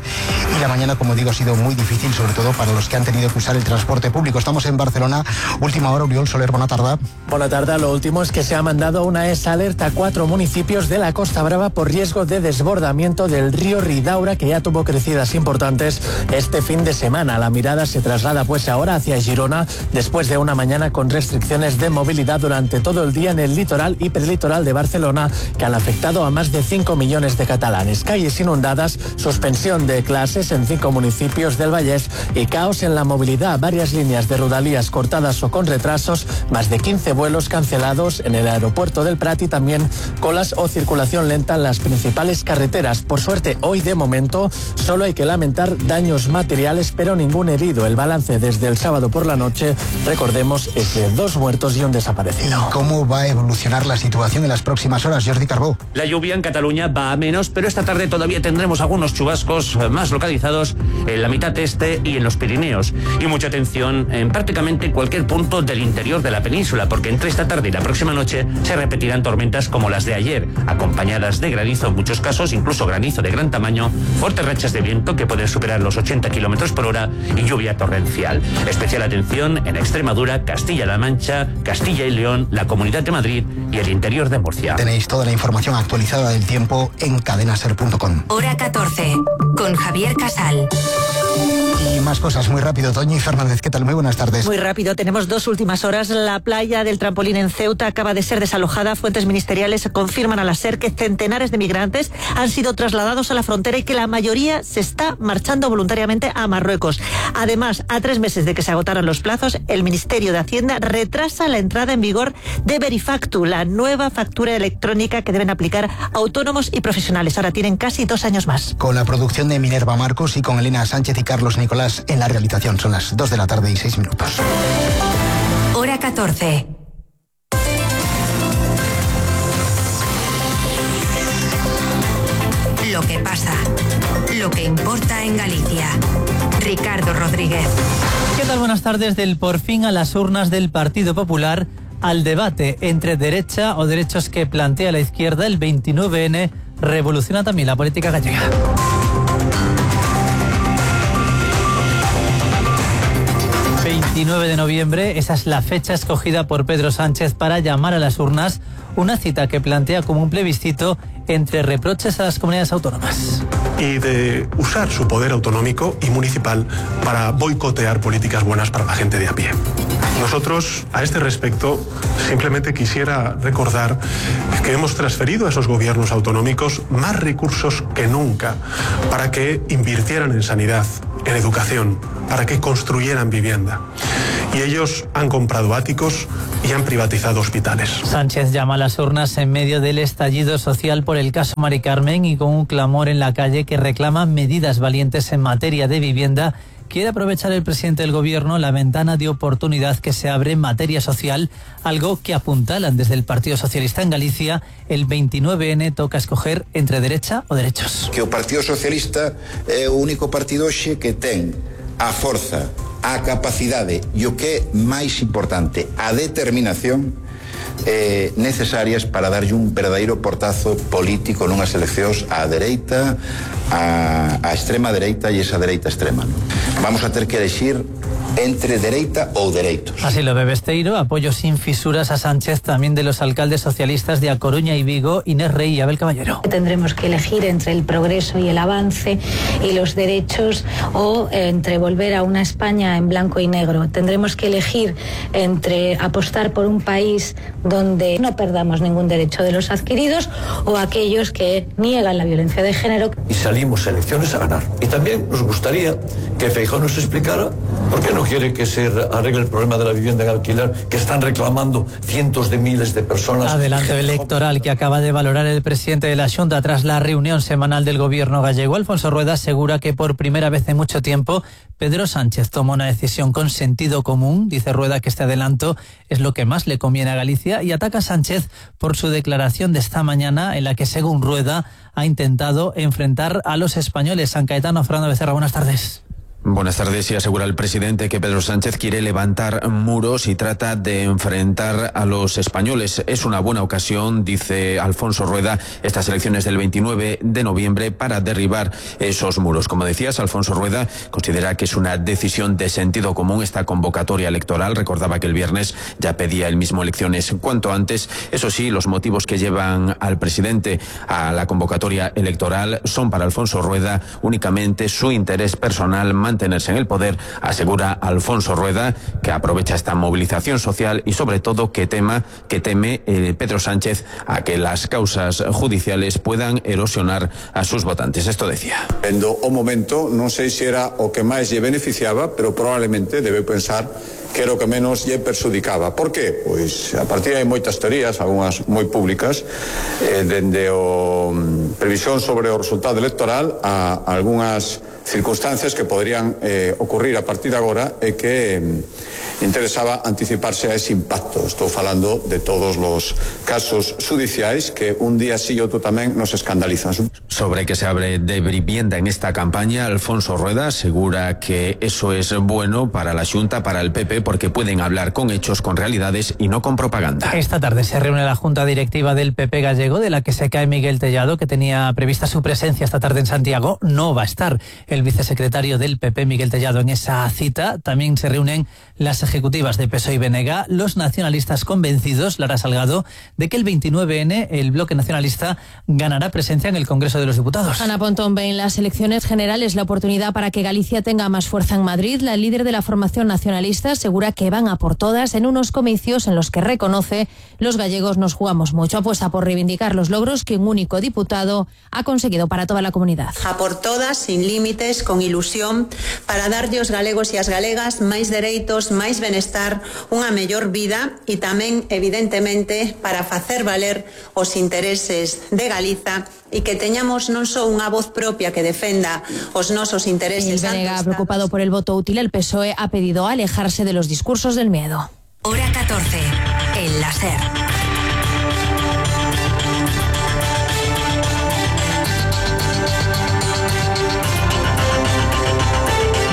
Speaker 10: y la mañana, como digo, ha sido muy difícil, sobre todo para los que han tenido que usar el transporte público. Estamos en Barcelona. Última hora, Oriol Soler, buena tarde.
Speaker 17: Buena tarde. Lo último es que se ha mandado una E S alerta a cuatro municipios de la Costa Brava por riesgo de desbordamiento del río Ridaura, que ya tuvo crecidas importantes este fin de semana. La mirada se traslada pues ahora hacia Girona, después de una mañana con restricciones de movilidad durante todo el día en el litoral y prelitoral de Barcelona, que han afectado a más de cinco millones de catalanes. Calles inundadas, suspensión de clases en cinco municipios del Vallès y caos en la movilidad. Varias líneas de Rodalies cortadas o con retrasos, más de quince vuelos cancelados en el aeropuerto del Prat y también colas o circulación lenta en las principales carreteras. Por suerte, hoy de momento solo hay que lamentar daños materiales, pero ningún herido. El balance desde el sábado por la noche, recordemos, es de dos muertos y un desaparecido.
Speaker 10: ¿Y cómo va a evolucionar la situación en las próximas horas, Jordi Carbó?
Speaker 18: La lluvia en Cataluña va a menos, pero esta tarde todavía tendremos algunos chubascos más localizados en la mitad este y en los Pirineos. Y mucha atención en prácticamente cualquier punto del interior de la península, porque entre esta tarde y la próxima noche se repetirán tormentas como las de ayer, acompañadas de granizo en muchos casos, incluso granizo de gran tamaño, fuertes rachas de viento que pueden superar los ochenta kilómetros por hora y lluvia torrencial. Especial atención en Extremadura, Castilla-La Mancha, Castilla y León, la Comunidad de Madrid y el interior de Murcia.
Speaker 10: Tenéis toda la información actualizada del tiempo en cadena ser punto com.
Speaker 11: Hora catorce, con Javier Casal.
Speaker 10: Y más cosas muy rápido. Toñi Fernández, ¿qué tal? Muy buenas tardes.
Speaker 19: Muy rápido, tenemos dos últimas horas. La playa del Trampolín en Ceuta acaba de ser desalojada. Fuentes ministeriales confirman a la SER que centenares de migrantes han sido trasladados a la frontera y que la mayoría se está marchando voluntariamente a Marruecos. Además, a tres meses de que se agotaran los plazos, el Ministerio de Hacienda retrasa la entrada en vigor de Verifactu, la nueva factura electrónica que deben aplicar autónomos y profesionales. Ahora tienen casi dos años más.
Speaker 10: Con la producción de Minerva Marcos y con Elena Sánchez y Carlos Nicolás en la realización. Son las dos de la tarde y seis minutos.
Speaker 11: Hora catorce. Lo que pasa, lo que importa en Galicia. Ricardo Rodríguez.
Speaker 20: ¿Qué tal? Buenas tardes. Del por fin a las urnas del Partido Popular, al debate entre derecha o derechos que plantea la izquierda, el veintinueve ene, revoluciona también la política gallega. veintinueve de noviembre, esa es la fecha escogida por Pedro Sánchez para llamar a las urnas, una cita que plantea como un plebiscito entre reproches a las comunidades autónomas.
Speaker 9: Y de usar su poder autonómico y municipal para boicotear políticas buenas para la gente de a pie. Nosotros, a este respecto, simplemente quisiera recordar que hemos transferido a esos gobiernos autonómicos más recursos que nunca para que invirtieran en sanidad, en educación, para que construyeran vivienda. Y ellos han comprado áticos y han privatizado hospitales.
Speaker 20: Sánchez llama a las urnas en medio del estallido social por el caso Mari Carmen y con un clamor en la calle que reclama medidas valientes en materia de vivienda. Quiere aprovechar el presidente del gobierno la ventana de oportunidad que se abre en materia social, algo que apuntalan desde el Partido Socialista en Galicia. El veintinueve ene toca escoger entre derecha o derechos.
Speaker 21: Que o Partido Socialista é o único partido hoxe que ten a forza, a capacidade e o que é máis importante, a determinación eh, necesarias para darlle un verdadeiro portazo político nunhas eleccións á dereita, a, a extrema dereita e esa dereita extrema. Vamos a ter que elegir entre dereita ou dereitos.
Speaker 20: Así lo ve Besteiro, apoyo sin fisuras a Sánchez también de los alcaldes socialistas de A Coruña y Vigo, Inés Rey y Abel Caballero.
Speaker 22: Tendremos que elegir entre el progreso y el avance y los derechos o entre volver a una España en blanco y negro. Tendremos que elegir entre apostar por un país donde no perdamos ningún derecho de los adquiridos o aquellos que niegan la violencia de género.
Speaker 23: Y salimos a elecciones a ganar. Y también nos gustaría que Feijóo nos explicara por qué no quiere que se arregle el problema de la vivienda en alquiler que están reclamando cientos de miles de personas.
Speaker 20: Adelanto electoral que acaba de valorar el presidente de la Xunta tras la reunión semanal del gobierno gallego. Alfonso Rueda asegura que por primera vez en mucho tiempo Pedro Sánchez toma una decisión con sentido común. Dice Rueda que este adelanto es lo que más le conviene a Galicia y ataca a Sánchez por su declaración de esta mañana en la que, según Rueda, ha intentado enfrentar a los españoles. San Caetano, Fernando Becerra, buenas tardes.
Speaker 2: Buenas tardes. Y asegura el presidente que Pedro Sánchez quiere levantar muros y trata de enfrentar a los españoles. Es una buena ocasión, dice Alfonso Rueda, estas elecciones del veintinueve de noviembre para derribar esos muros. Como decías, Alfonso Rueda considera que es una decisión de sentido común esta convocatoria electoral. Recordaba que el viernes ya pedía el mismo elecciones cuanto antes. Eso sí, los motivos que llevan al presidente a la convocatoria electoral son para Alfonso Rueda únicamente su interés personal, mantenerse en el poder. Asegura Alfonso Rueda que aprovecha esta movilización social y sobre todo que tema que teme eh, Pedro Sánchez a que las causas judiciales puedan erosionar a sus votantes. Esto decía.
Speaker 24: Vendo o momento, non sei se era o que máis lle beneficiaba, pero probablemente debe pensar que era o que menos lle perxudicaba. Por qué? Pois a partir hai moitas teorías, algunhas moi públicas, eh, dende o um, previsión sobre o resultado electoral a, a algunhas circunstancias que podrían eh, ocurrir a partir de agora e que eh, interesaba anticiparse a ese impacto. Estou falando de todos los casos judiciais que un día sí e outro tamén nos escandalizan.
Speaker 2: Sobre que se abre de vivienda en esta campaña, Alfonso Rueda asegura que eso es bueno para la Xunta, para el P P, porque pueden hablar con hechos, con realidades y no con propaganda.
Speaker 20: Esta tarde se reúne la Junta Directiva del P P gallego, de la que se cae Miguel Tellado, que tenía prevista su presencia esta tarde en Santiago. No va a estar el vicesecretario del P P, Miguel Tellado, en esa cita. También se reúnen las ejecutivas de P S O E y B N G, los nacionalistas convencidos, Lara Salgado, de que el veintinueve ene, el bloque nacionalista, ganará presencia en el Congreso de los Diputados.
Speaker 14: Ana Pontón ve en las elecciones generales la oportunidad para que Galicia tenga más fuerza en Madrid. La líder de la formación nacionalista asegura que van a por todas en unos comicios en los que reconoce los gallegos nos jugamos mucho. Apuesta por reivindicar los logros que un único diputado ha conseguido para toda la comunidad.
Speaker 25: A por todas, sin límites, con ilusión, para darlle aos galegos e as galegas máis dereitos, máis benestar, unha mellor vida e tamén, evidentemente, para facer valer os intereses de Galiza e que teñamos non só unha voz propia que defenda os nosos intereses.
Speaker 14: El B N G, preocupado por el voto útil, el P S O E ha pedido alejarse de los discursos del miedo.
Speaker 11: Hora catorce, el láser.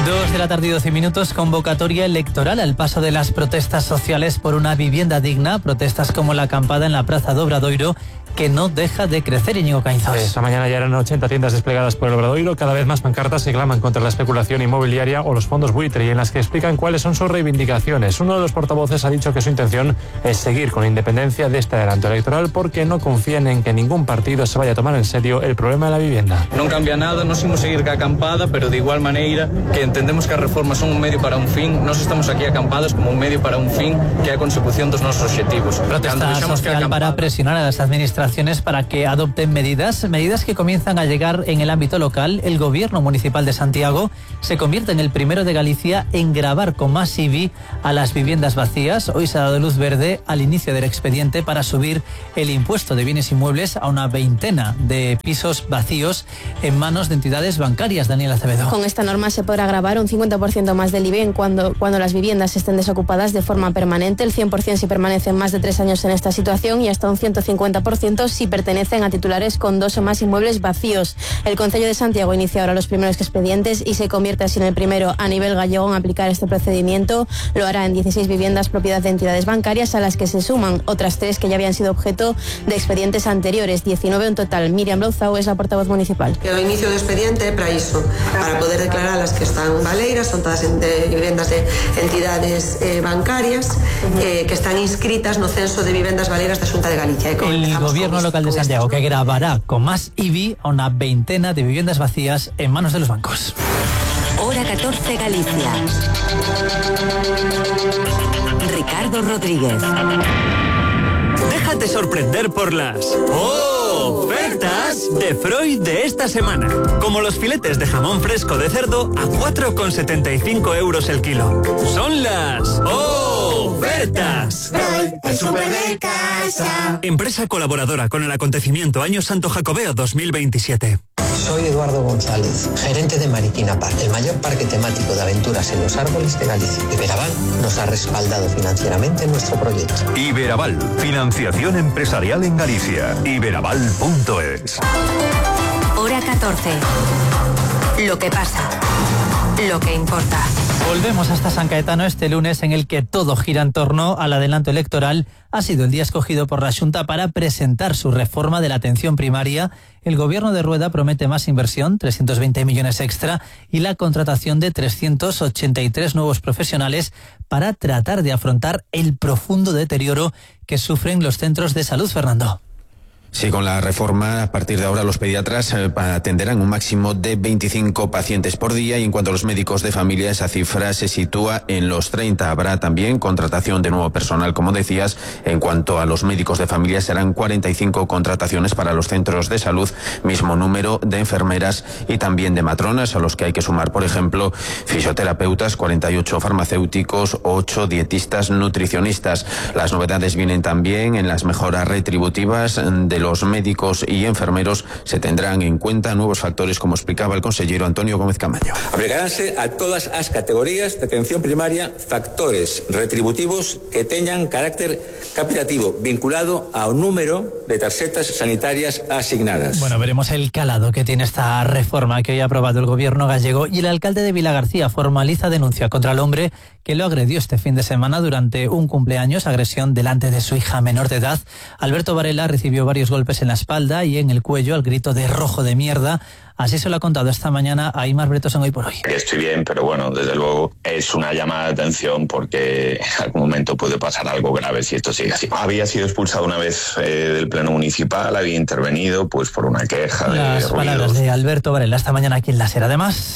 Speaker 20: Dos de la tarde y doce minutos, convocatoria electoral al paso de las protestas sociales por una vivienda digna, protestas como la acampada en la Praza do Obradoiro, que no deja de crecer. Íñigo Caínzos.
Speaker 1: Esta mañana ya eran ochenta tiendas desplegadas por el Obradoiro. Cada vez más pancartas se claman contra la especulación inmobiliaria o los fondos buitre, y en las que explican cuáles son sus reivindicaciones. Uno de los portavoces ha dicho que su intención es seguir con independencia de este adelanto electoral porque no confían en que ningún partido se vaya a tomar en serio el problema de la vivienda.
Speaker 3: Non cambia nada, nos imos seguir ca acampada, pero de igual maneira que entendemos que as reformas son un medio para un fin, nos estamos aquí acampadas como un medio para un fin, que é a consecución dos nosos obxectivos.
Speaker 20: Protesta social para presionar a las administraciones para que adopten medidas, medidas que comienzan a llegar en el ámbito local. El gobierno municipal de Santiago se convierte en el primero de Galicia en gravar con más I B I a las viviendas vacías. Hoy se ha dado luz verde al inicio del expediente para subir el impuesto de bienes inmuebles a una veintena de pisos vacíos en manos de entidades bancarias. Daniela Acevedo.
Speaker 5: Con esta norma se podrá gravar un cincuenta por ciento más del I B I en cuando, cuando las viviendas estén desocupadas de forma permanente, el cien por ciento si permanecen más de tres años en esta situación y hasta un ciento cincuenta por ciento si pertenecen a titulares con dos o más inmuebles vacíos. El Concello de Santiago inicia ahora los primeros expedientes y se convierte así en el primero a nivel gallego en aplicar este procedimiento. Lo hará en dieciséis viviendas propiedad de entidades bancarias, a las que se suman otras tres que ya habían sido objeto de expedientes anteriores, diecinueve en total. Miriam Louzao es la portavoz municipal.
Speaker 6: El inicio do expediente é para iso, para poder declarar as que están baleiras, son todas de vivendas de entidades eh, bancarias eh, que están inscritas no censo de vivendas baleiras da Xunta de Galicia.
Speaker 20: El gobierno local de Santiago que gravará con más I B I a una veintena de viviendas vacías en manos de los bancos.
Speaker 11: Hora catorce Galicia. Ricardo Rodríguez.
Speaker 7: Déjate sorprender por las ofertas de Freud de esta semana. Como los filetes de jamón fresco de cerdo a cuatro con setenta y cinco euros el kilo. Son las ofertas.
Speaker 26: Freud, el súper de casa.
Speaker 7: Empresa colaboradora con el acontecimiento Año Santo Jacobeo dos mil veintisiete.
Speaker 27: Soy Eduardo González, gerente de Mariquina Park, el mayor parque temático de aventuras en los árboles de Galicia. Iberaval nos ha respaldado financieramente en nuestro proyecto.
Speaker 28: Iberaval, financiación empresarial en Galicia. Iberaval punto es.
Speaker 11: Hora catorce. Lo que pasa. Lo que importa.
Speaker 20: Volvemos hasta San Caetano este lunes, en el que todo gira en torno al adelanto electoral. Ha sido el día escogido por la Xunta para presentar su reforma de la atención primaria. El gobierno de Rueda promete más inversión, trescientos veinte millones extra, y la contratación de trescientos ochenta y tres nuevos profesionales para tratar de afrontar el profundo deterioro que sufren los centros de salud. Fernando.
Speaker 2: Sí, con la reforma, a partir de ahora los pediatras eh, atenderán un máximo de veinticinco pacientes por día, y en cuanto a los médicos de familia, esa cifra se sitúa en los treinta. Habrá también contratación de nuevo personal, como decías. En cuanto a los médicos de familia, serán cuarenta y cinco contrataciones para los centros de salud, mismo número de enfermeras y también de matronas, a los que hay que sumar, por ejemplo, fisioterapeutas, cuarenta y ocho farmacéuticos, ocho dietistas, nutricionistas. Las novedades vienen también en las mejoras retributivas de los médicos y enfermeros. Se tendrán en cuenta nuevos factores, como explicaba el consejero Antonio Gómez Camaño.
Speaker 29: Aplicaránse a todas as categorías de atención primaria factores retributivos que teñan carácter capitativo vinculado ao número de tarxetas sanitarias asignadas.
Speaker 20: Bueno, veremos el calado que tiene esta reforma que hoy ha aprobado el gobierno gallego. Y el alcalde de Vilagarcía formaliza denuncia contra el hombre que lo agredió este fin de semana durante un cumpleaños, agresión delante de su hija menor de edad. Alberto Varela recibió varios golpes en la espalda y en el cuello al grito de rojo de mierda. Así se lo ha contado esta mañana a Aimar Bretos en Hoy por Hoy.
Speaker 30: Estoy bien, pero bueno, desde luego es una llamada de atención porque en algún momento puede pasar algo grave si esto sigue así. Había sido expulsado una vez eh, del pleno municipal, había intervenido pues por una queja de
Speaker 20: Las
Speaker 30: ruidos.
Speaker 20: palabras de Alberto Varela esta mañana aquí en La Ser. Además,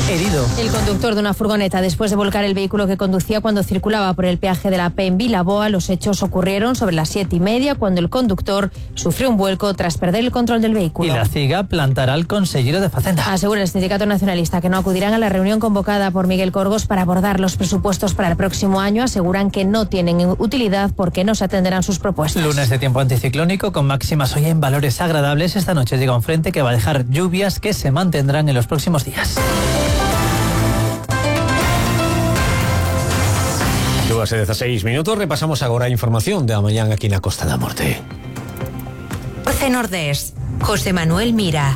Speaker 20: herido
Speaker 14: el conductor de una furgoneta después de volcar el vehículo que conducía cuando circulaba por el peaje de la P en Vilaboa. Los hechos ocurrieron sobre las siete y media, cuando el conductor sufrió un vuelco tras perder el control del vehículo.
Speaker 20: Y la CIGA plantará al consejero de Facenda.
Speaker 14: Asegura el sindicato nacionalista que no acudirán a la reunión convocada por Miguel Corgos para abordar los presupuestos para el próximo año. Aseguran que no tienen utilidad porque no se atenderán sus propuestas.
Speaker 20: Lunes de tiempo anticiclónico con máximas hoy en valores agradables. Esta noche llega un frente que va a dejar lluvias que se mantendrán en los próximos días.
Speaker 2: Hace dieciséis minutos, repasamos agora a información da mañán aquí na Costa da Morte.
Speaker 11: Orce Nordés, José Manuel Mira.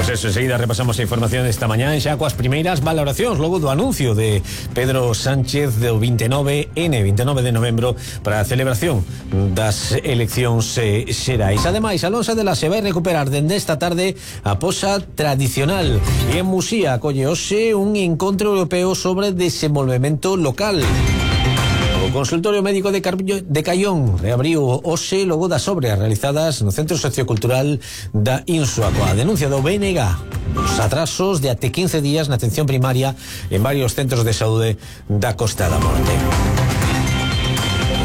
Speaker 2: Pues eso, enseguida repasamos a información desta mañá en xa coas primeiras valoracións logo do anuncio de Pedro Sánchez do veintinueve ene, veintinueve de novembro, para a celebración das eleccións eh, xerais. Ademais, Alonso de la se vai recuperar dende esta tarde a posa tradicional e en Musía acolle hoxe un encontro europeo sobre desenvolvemento local. O consultorio médico de, Carbillo, de Caión reabriu hoxe logo das obras realizadas no Centro Sociocultural da Insua, coa denuncia do B N G dos atrasos de até quince días na atención primaria en varios centros de saúde da Costa da Morte.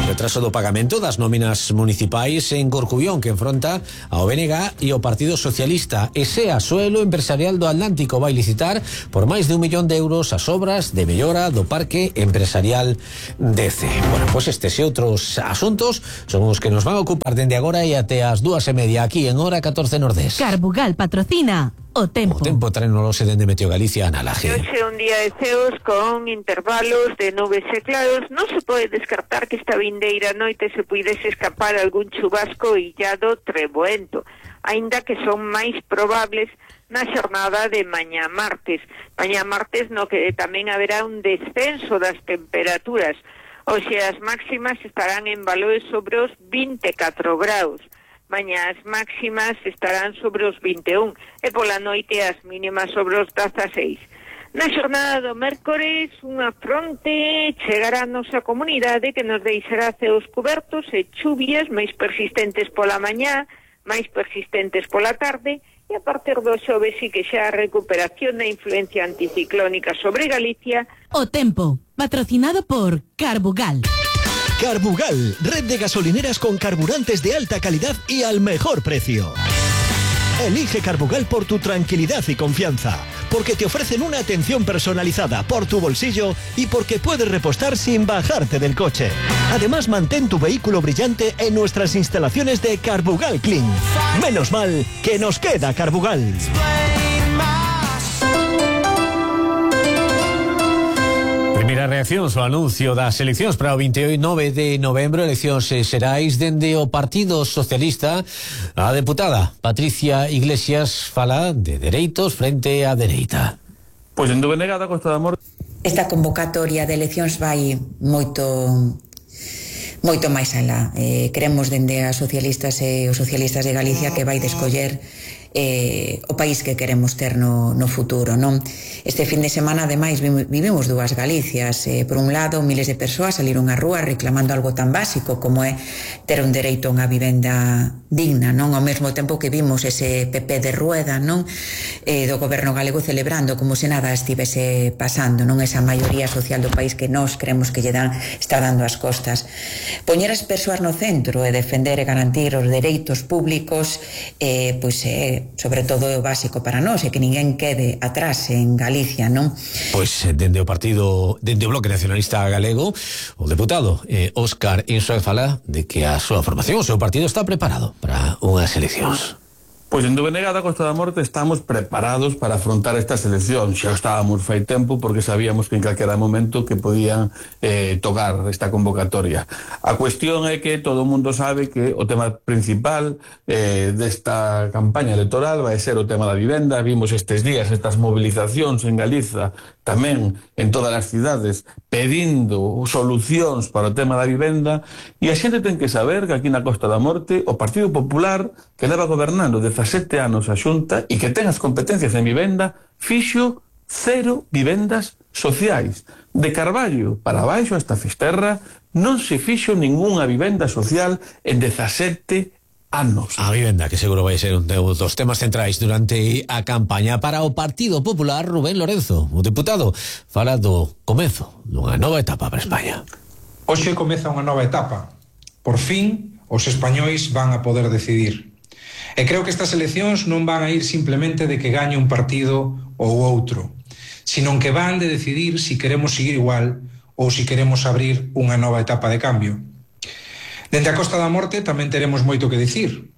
Speaker 2: Retraso do pagamento das nóminas municipais en Corcubión, que enfronta ao B N G e ao Partido Socialista. E SEA, Suelo Empresarial do Atlántico, vai licitar por máis de un millón de euros as obras de mellora do Parque Empresarial D C. Bueno, pois estes e outros asuntos son os que nos van a ocupar dende agora e até as dúas e media aquí en Hora catorce Nordés.
Speaker 4: Carbugal patrocina O Tempo.
Speaker 2: O Tempo traenolose dende Meteo Galicia, Ana Laje.
Speaker 8: Hoxe un día de ceos con intervalos de nubes e claros. Non se pode descartar que esta vindeira noite se puidese escapar algún chubasco illado treboento, aínda que son máis probables na xornada de mañá martes. Mañá martes no que tamén haberá un descenso das temperaturas. Hoxe as máximas estarán en valores sobre os vinte e catro graus. Mañá as máximas estarán sobre os vinte e un e pola noite as mínimas sobre os dezaseis. Na xornada do mércores, unha fronte chegará a nosa comunidade que nos deixará ceos cubertos e chuvias máis persistentes pola mañá, máis persistentes pola tarde, e a partir do xoves sí que xa a recuperación da influencia anticiclónica sobre Galicia.
Speaker 4: O Tempo, patrocinado por Carbugal.
Speaker 10: Carbugal, red de gasolineras con carburantes de alta calidad y al mejor precio. Elige Carbugal por tu tranquilidad y confianza, porque te ofrecen una atención personalizada por tu bolsillo y porque puedes repostar sin bajarte del coche. Además, mantén tu vehículo brillante en nuestras instalaciones de Carbugal Clean. Menos mal que nos queda Carbugal.
Speaker 2: Primeira reacción ao anuncio das eleccións para o veintinueve de novembro, eleccións xerais dende o Partido Socialista. A deputada Patricia Iglesias fala de dereitos frente á dereita.
Speaker 12: Pois en Dovenega da Costa da Morte.
Speaker 13: Esta convocatoria de eleccións vai moito moito máis alá. Eh, queremos dende as socialistas e os socialistas de Galicia que vai descoller eh, o país que queremos ter no, no futuro, non? Este fin de semana, ademais, vivimos dúas Galicias. Eh, por un lado, miles de persoas saliron á rúa reclamando algo tan básico como é ter un dereito a unha vivenda digna, non? Ao mesmo tempo que vimos ese P P de rueda, non? Eh, do goberno galego celebrando como se nada estivese pasando, non? Esa maioría social do país que nós creemos que lle dan, está dando as costas. Poñer as persoas no centro e defender e garantir os dereitos públicos, eh, pois é, sobre todo, o básico para nós, e que ninguén quede atrás en Galicia, non?
Speaker 2: Pois dende o partido, dende o Bloque Nacionalista Galego, o deputado eh, Óscar Insua fala de que a súa formación, o seu partido está preparado para unhas eleccións.
Speaker 12: Pois en Dovenega da Costa da Morte estamos preparados para afrontar esta selección. Xa estábamos fai tempo porque sabíamos que en calquera momento que podían eh, tocar esta convocatoria. A cuestión é que todo o mundo sabe que o tema principal eh, desta campaña electoral vai ser o tema da vivenda. Vimos estes días estas movilizacións en Galiza, tamén en todas as cidades, pedindo solucións para o tema da vivenda, e a xente ten que saber que aquí na Costa da Morte o Partido Popular, que leva gobernando dezasete anos a Xunta e que ten as competencias en vivenda, fixo cero vivendas sociais. De Carballo para baixo hasta Fisterra non se fixo ningunha vivenda social en dezasete anos.
Speaker 2: A vivenda, que seguro vai ser un dos temas centrais durante a campaña. Para o Partido Popular, Rubén Lorenzo, o deputado, fala do comezo dunha nova etapa para España.
Speaker 15: Hoxe comeza unha nova etapa. Por fin, os españois van a poder decidir. E creo que estas eleccións non van a ir simplemente de que gañe un partido ou outro, sino que van de decidir si queremos seguir igual ou si queremos abrir unha nova etapa de cambio. Dende a Costa da Morte tamén teremos moito que dicir,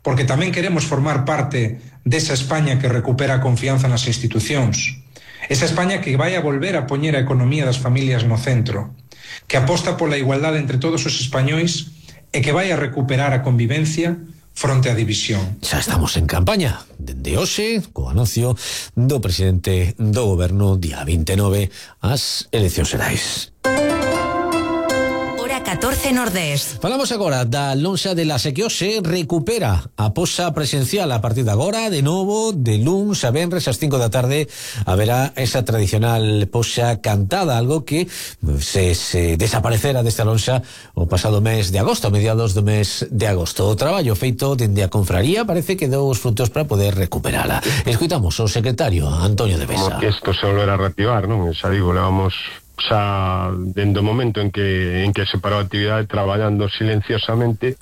Speaker 15: porque tamén queremos formar parte desa España que recupera a confianza nas institucións, esa España que vai a volver a poñer a economía das familias no centro, que aposta pola igualdade entre todos os españois e que vai a recuperar a convivencia fronte á división.
Speaker 2: Xa estamos en campaña dende hoxe co anuncio do presidente do goberno día vinte e nove ás eleccións xerais.
Speaker 11: catorce Nordés.
Speaker 2: Falamos agora da lonxa de la que hoxe recupera a posa presencial a partir de agora, de novo, de luns a venres ás cinco da tarde haberá esa tradicional posa cantada, algo que se, se desaparecera desta lonxa o pasado mes de agosto, a mediados do mes de agosto. O traballo feito dende a confraría parece que deu os frutos para poder recuperala. Escuitamos o secretario Antonio de Besa.
Speaker 9: Como que isto se volverá a reactivar, non? Xa digo, levamos xa dende o momento en que en que se parou a actividade traballando silenciosamente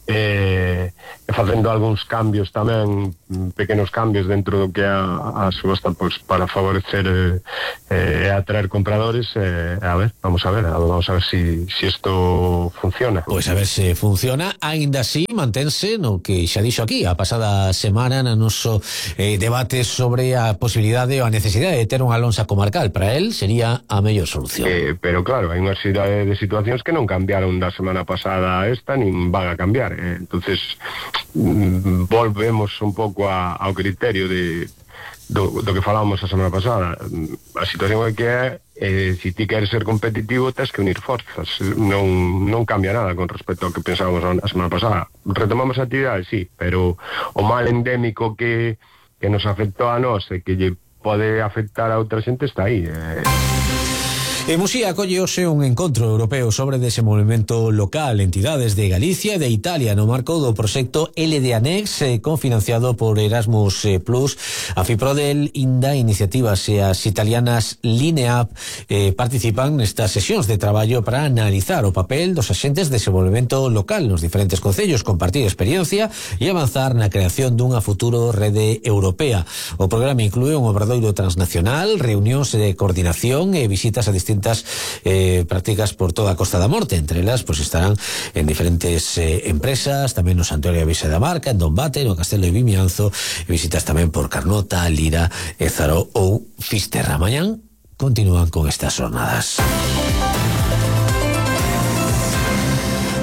Speaker 9: e eh, facendo algúns cambios tamén, pequenos cambios dentro do que é a, a subasta, pois, para favorecer e eh, eh, atraer compradores. eh, a ver, vamos a ver vamos a ver si, si esto funciona.
Speaker 2: Pois a ver se funciona. Aínda así mantense no que xa dixo aquí a pasada semana no noso eh, debate sobre a posibilidade ou a necesidade de ter unha lonxa comarcal. Para él sería a mellor solución.
Speaker 9: eh, pero claro, hai unha serie de situacións que non cambiaron da semana pasada a esta, nin van a cambiar. Eh, entonces mm, volvemos un pouco a, ao criterio de do, do que falábamos a semana pasada. A situación é que é eh, se ti queres ser competitivo tens que unir forzas, non, non cambia nada con respecto ao que pensábamos a semana pasada. Retomamos a actividade, sí, pero o mal endémico que, que nos afectou a nós e que lle pode afectar a outra xente está aí. eh.
Speaker 2: En Muxía acolle hoxe un encontro europeo sobre desenvolvemento local, entidades de Galicia e de Italia no marco do proxecto L D Anex, eh, confinanciado por Erasmus eh, Plus. A FIPRODEL, Inda, Iniciativas e as italianas Lineap eh, participan nestas sesións de traballo para analizar o papel dos axentes de desenvolvemento local nos diferentes concellos, compartir experiencia e avanzar na creación dunha futuro rede europea. O programa inclúe un obradoiro transnacional, reunións de coordinación e visitas a distintas Eh, prácticas por toda a Costa da Morte. Entre elas pues estarán en diferentes eh, empresas, tamén no Santuario de Vixe da Marca, en Dombate, no Castelo de Vimianzo, e visitas tamén por Carnota, Lira, Ézaro ou Fisterra. Mañán continúan con estas jornadas.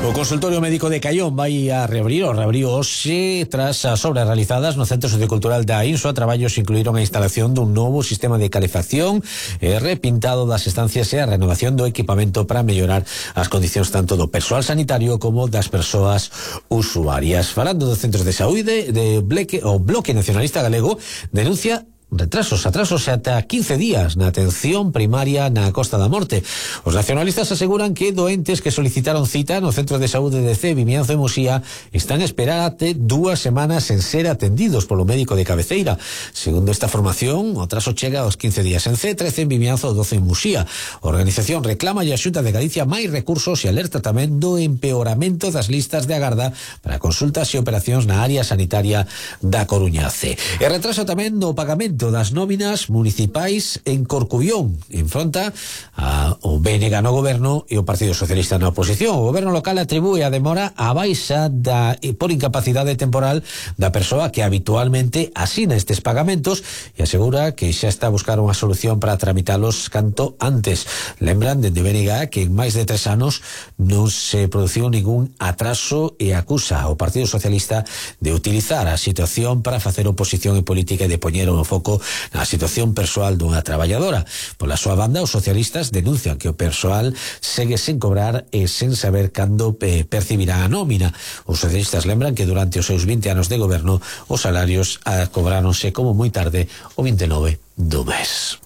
Speaker 2: O consultorio médico de Caión vai a reabrir o reabriu hoxe tras as obras realizadas no Centro Sociocultural da Insua. Traballos incluíron a instalación dun novo sistema de calefacción e repintado das estancias e a renovación do equipamento para mellorar as condicións tanto do persoal sanitario como das persoas usuarias. Falando dos centros de saúde, de Bleque, o Bloque Nacionalista Galego denuncia retrasos, atrasos ata quince días na atención primaria na Costa da Morte. Os nacionalistas aseguran que doentes que solicitaron cita no Centro de Saúde de C, Vimianzo e Muxía están a esperar até dúas semanas en ser atendidos polo médico de cabeceira. Segundo esta formación, o atraso chega aos quince días en C, trece en Vimianzo, doce en Muxía. A organización reclama a Xunta de Galicia máis recursos e alerta tamén do empeoramento das listas de agarda para consultas e operacións na área sanitaria da Coruña C. E retraso tamén no pagamento das nóminas municipais en Corcubión, enfronta a, o B N G no goberno e o Partido Socialista na oposición. O goberno local atribúe a demora a baixa da, por incapacidade temporal da persoa que habitualmente asina estes pagamentos e asegura que xa está a buscar unha solución para tramitalos canto antes. Lembran dende B N G que en máis de tres anos non se produciu ningún atraso e acusa ao Partido Socialista de utilizar a situación para facer oposición en política e de poñer o foco na situación persoal dunha traballadora. Pola súa banda, os socialistas denuncian que o persoal segue sen cobrar e sen saber cando eh, percibirá a nómina. Os socialistas lembran que durante os seus vinte anos de goberno os salarios ah, cobráronse como moi tarde o vinte e nove do mes.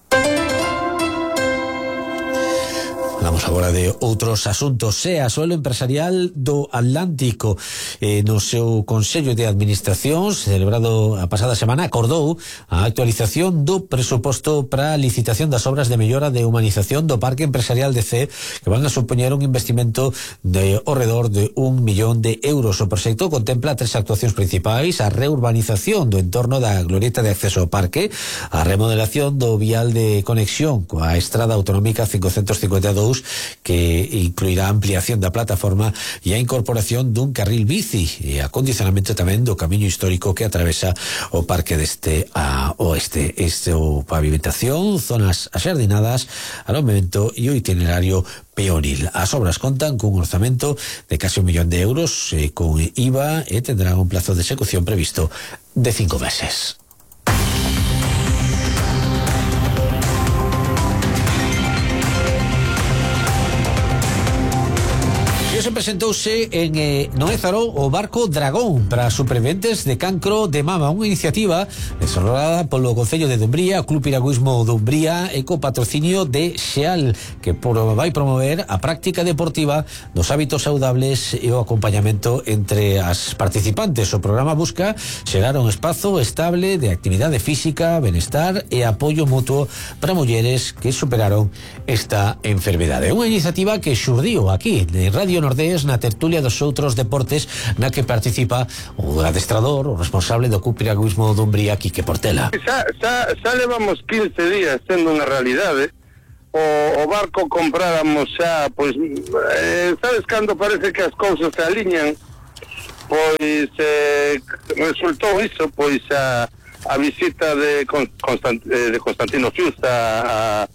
Speaker 2: Falamos agora de outros asuntos. E a Suelo Empresarial do Atlántico eh, no seu Consello de Administracións celebrado a pasada semana acordou a actualización do presuposto para a licitación das obras de mellora de humanización do Parque Empresarial de C, que van a supoñer un investimento de ao redor de un millón de euros. O proxecto contempla tres actuacións principais: a reurbanización do entorno da glorieta de acceso ao parque, a remodelación do vial de conexión coa estrada autonómica cincocentos cincuenta e dous dous, que incluirá ampliación da plataforma e a incorporación dun carril bici e acondicionamento tamén do camiño histórico que atravesa o parque deste a oeste. Este o pavimentación, zonas axardinadas, alojamento e o itinerario peonil. As obras contan cun orzamento de case un millón de euros eh, con I V A e tendrán un plazo de execución previsto de cinco meses. Se presentouse en eh, Noézaro o barco Dragón para superviventes de cancro de mama, unha iniciativa desarrollada polo Concello de Dumbría, o Club Piragüismo Dumbría e co patrocinio de Xeal, que por, vai promover a práctica deportiva dos hábitos saudables e o acompañamento entre as participantes. O programa busca xerar un espazo estable de actividade física, benestar e apoio mutuo para mulleres que superaron esta enfermedade. Unha iniciativa que xurdiu aquí en Radio Nordés na tertulia dos outros deportes na que participa o adestrador, o responsable do Club Piragüismo Dumbría, Quique Portela.
Speaker 1: Xa, xa, xa levamos quince días sendo unha realidade. O, o barco compráramos xa, pois, eh, sabes cando parece que as cousas se aliñan? Pois eh, resultou iso, pois a, a visita de, Constant, de Constantino Fiuza a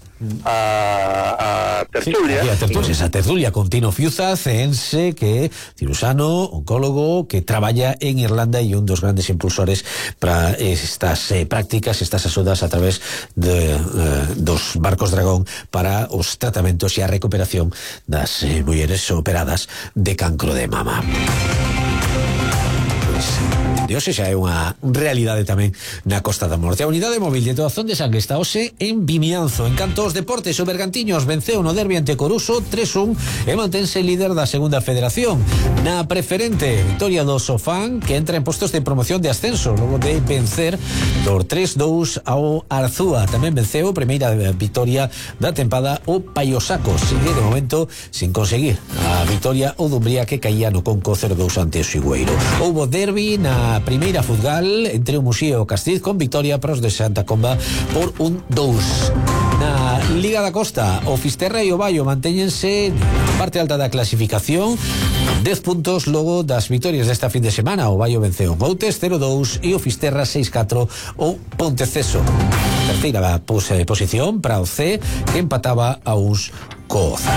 Speaker 1: a, a tertulia.
Speaker 2: Sí, a tertulia, esa tertulia con Tino Fiuza, ceense, que cirusano, oncólogo, que traballa en Irlanda e un dos grandes impulsores para estas eh, prácticas, estas axudas a través de, eh, dos barcos Dragón para os tratamentos e a recuperación das eh, mulleres operadas de cancro de mama. De hoxe xa é unha realidade tamén na Costa da Morte. A unidade móvil de Toazón de Sangue está hoxe en Vimianzo. En canto aos deportes, o Bergantiños venceu no derbi ante Coruso tres un e mantense líder da segunda federación. Na preferente, victoria do Sofán, que entra en postos de promoción de ascenso logo de vencer por tres dous ao Arzúa. Tamén venceu, primeira victoria da tempada, o Paiosaco. Sigue de momento sin conseguir a victoria o Dumbría, que caía no Conco cero dous ante o Sigüeiro. Houbo derbi na primeira futgal entre o Muxía e o Castiz, con victoria para os de Santa Comba por un dous. Na Liga da Costa, o Fisterra e o Baio mantéñense na parte alta da clasificación, dez puntos logo das victorias desta fin de semana. O Baio venceu o Boutes cero dous e o Fisterra seis catro o Ponteceso. Terceira posición para o C, que empataba a uns co Oza.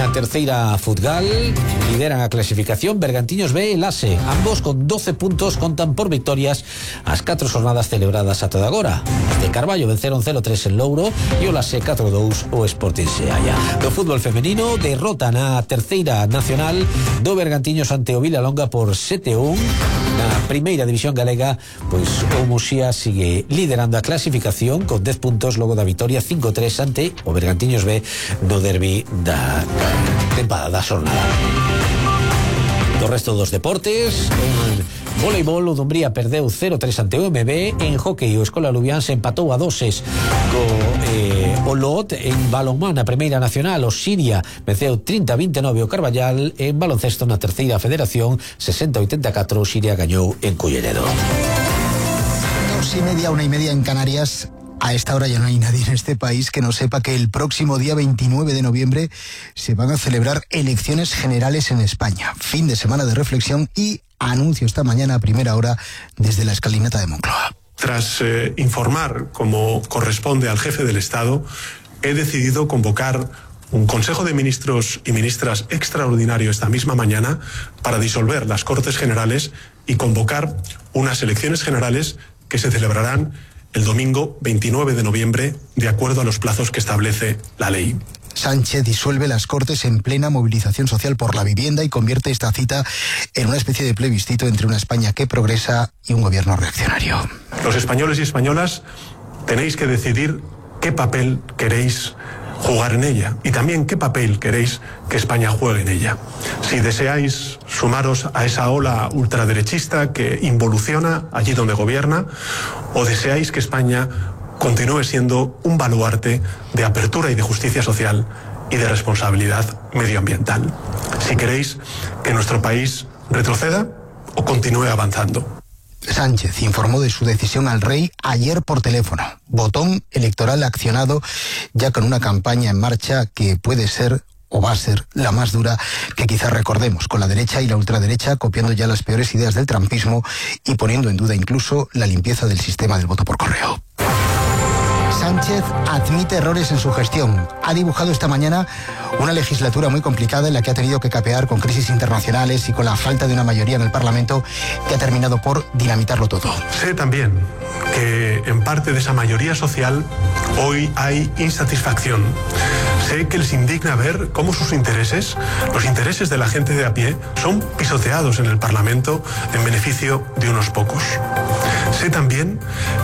Speaker 2: Na terceira futgal lideran a clasificación Bergantiños B e Lase, ambos con doce puntos, contan por victorias as catro jornadas celebradas ata agora. Os de Carballo venceron cero tres en Louro e o Lase catro dous o Sporting Seaia. Do fútbol femenino, derrota na terceira nacional do Bergantiños ante o Vilalonga por sete un. Na primeira división galega, pois o Muxía sigue liderando a clasificación con dez puntos logo da victoria cinco tres ante o Bergantiños B no derbi da tempada da xornada. Do resto dos deportes, en voleibol o Dumbría perdeu cero tres ante o M B. En hockey o Escola Lubián se empatou a doses co eh, o Lot. En balonmán a primeira nacional o Siria venceu trinta a vinte e nove o Carballal. En baloncesto na terceira federación sesenta a oitenta e catro o Siria gañou en Culleredo.
Speaker 16: Dos y media, una y media en Canarias. A esta hora ya no hay nadie en este país que no sepa que el próximo día veintinueve de noviembre se van a celebrar elecciones generales en España. Fin de semana de reflexión y anuncio esta mañana a primera hora desde la escalinata de Moncloa.
Speaker 17: Tras eh, informar, como corresponde al jefe del Estado, he decidido convocar un Consejo de Ministros y Ministras extraordinario esta misma mañana para disolver las Cortes Generales y convocar unas elecciones generales que se celebrarán el domingo veintinueve de noviembre, de acuerdo a los plazos que establece la ley.
Speaker 16: Sánchez disuelve las Cortes en plena movilización social por la vivienda y convierte esta cita en una especie de plebiscito entre una España que progresa y un gobierno reaccionario.
Speaker 17: Los españoles y españolas tenéis que decidir qué papel queréis jugar en ella y también qué papel queréis que España juegue en ella. Si deseáis sumaros a esa ola ultraderechista que involuciona allí donde gobierna, o deseáis que España continúe siendo un baluarte de apertura y de justicia social y de responsabilidad medioambiental. Si queréis que nuestro país retroceda o continúe avanzando.
Speaker 16: Sánchez informó de su decisión al rey ayer por teléfono. Botón electoral accionado, ya con una campaña en marcha que puede ser o va a ser la más dura que quizás recordemos, con la derecha y la ultraderecha copiando ya las peores ideas del trumpismo y poniendo en duda incluso la limpieza del sistema del voto por correo. Sánchez admite errores en su gestión. Ha dibujado esta mañana una legislatura muy complicada en la que ha tenido que capear con crisis internacionales y con la falta de una mayoría en el Parlamento que ha terminado por dinamitarlo todo.
Speaker 17: Sé también que en parte de esa mayoría social hoy hay insatisfacción. Sé que les indigna ver cómo sus intereses, los intereses de la gente de a pie, son pisoteados en el Parlamento en beneficio de unos pocos. Sé también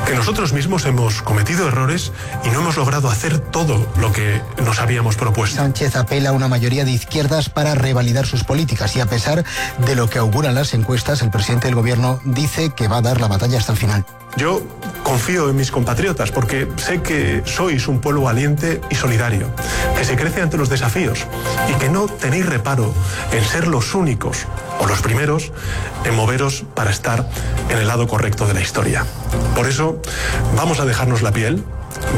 Speaker 17: que nosotros mismos hemos cometido errores y no hemos logrado hacer todo lo que nos habíamos propuesto.
Speaker 16: Sánchez apela a una mayoría de izquierdas para revalidar sus políticas y a pesar de lo que auguran las encuestas, el presidente del gobierno dice que va a dar la batalla hasta el final.
Speaker 17: Yo confío en mis compatriotas porque sé que sois un pueblo valiente y solidario, que se crece ante los desafíos y que no tenéis reparo en ser los únicos o los primeros en moveros para estar en el lado correcto de la historia. Por eso vamos a dejarnos la piel,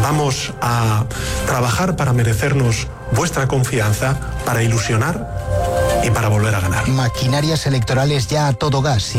Speaker 17: vamos a trabajar para merecernos vuestra confianza, para ilusionar y para volver a ganar.
Speaker 16: Maquinarias electorales ya a todo gas.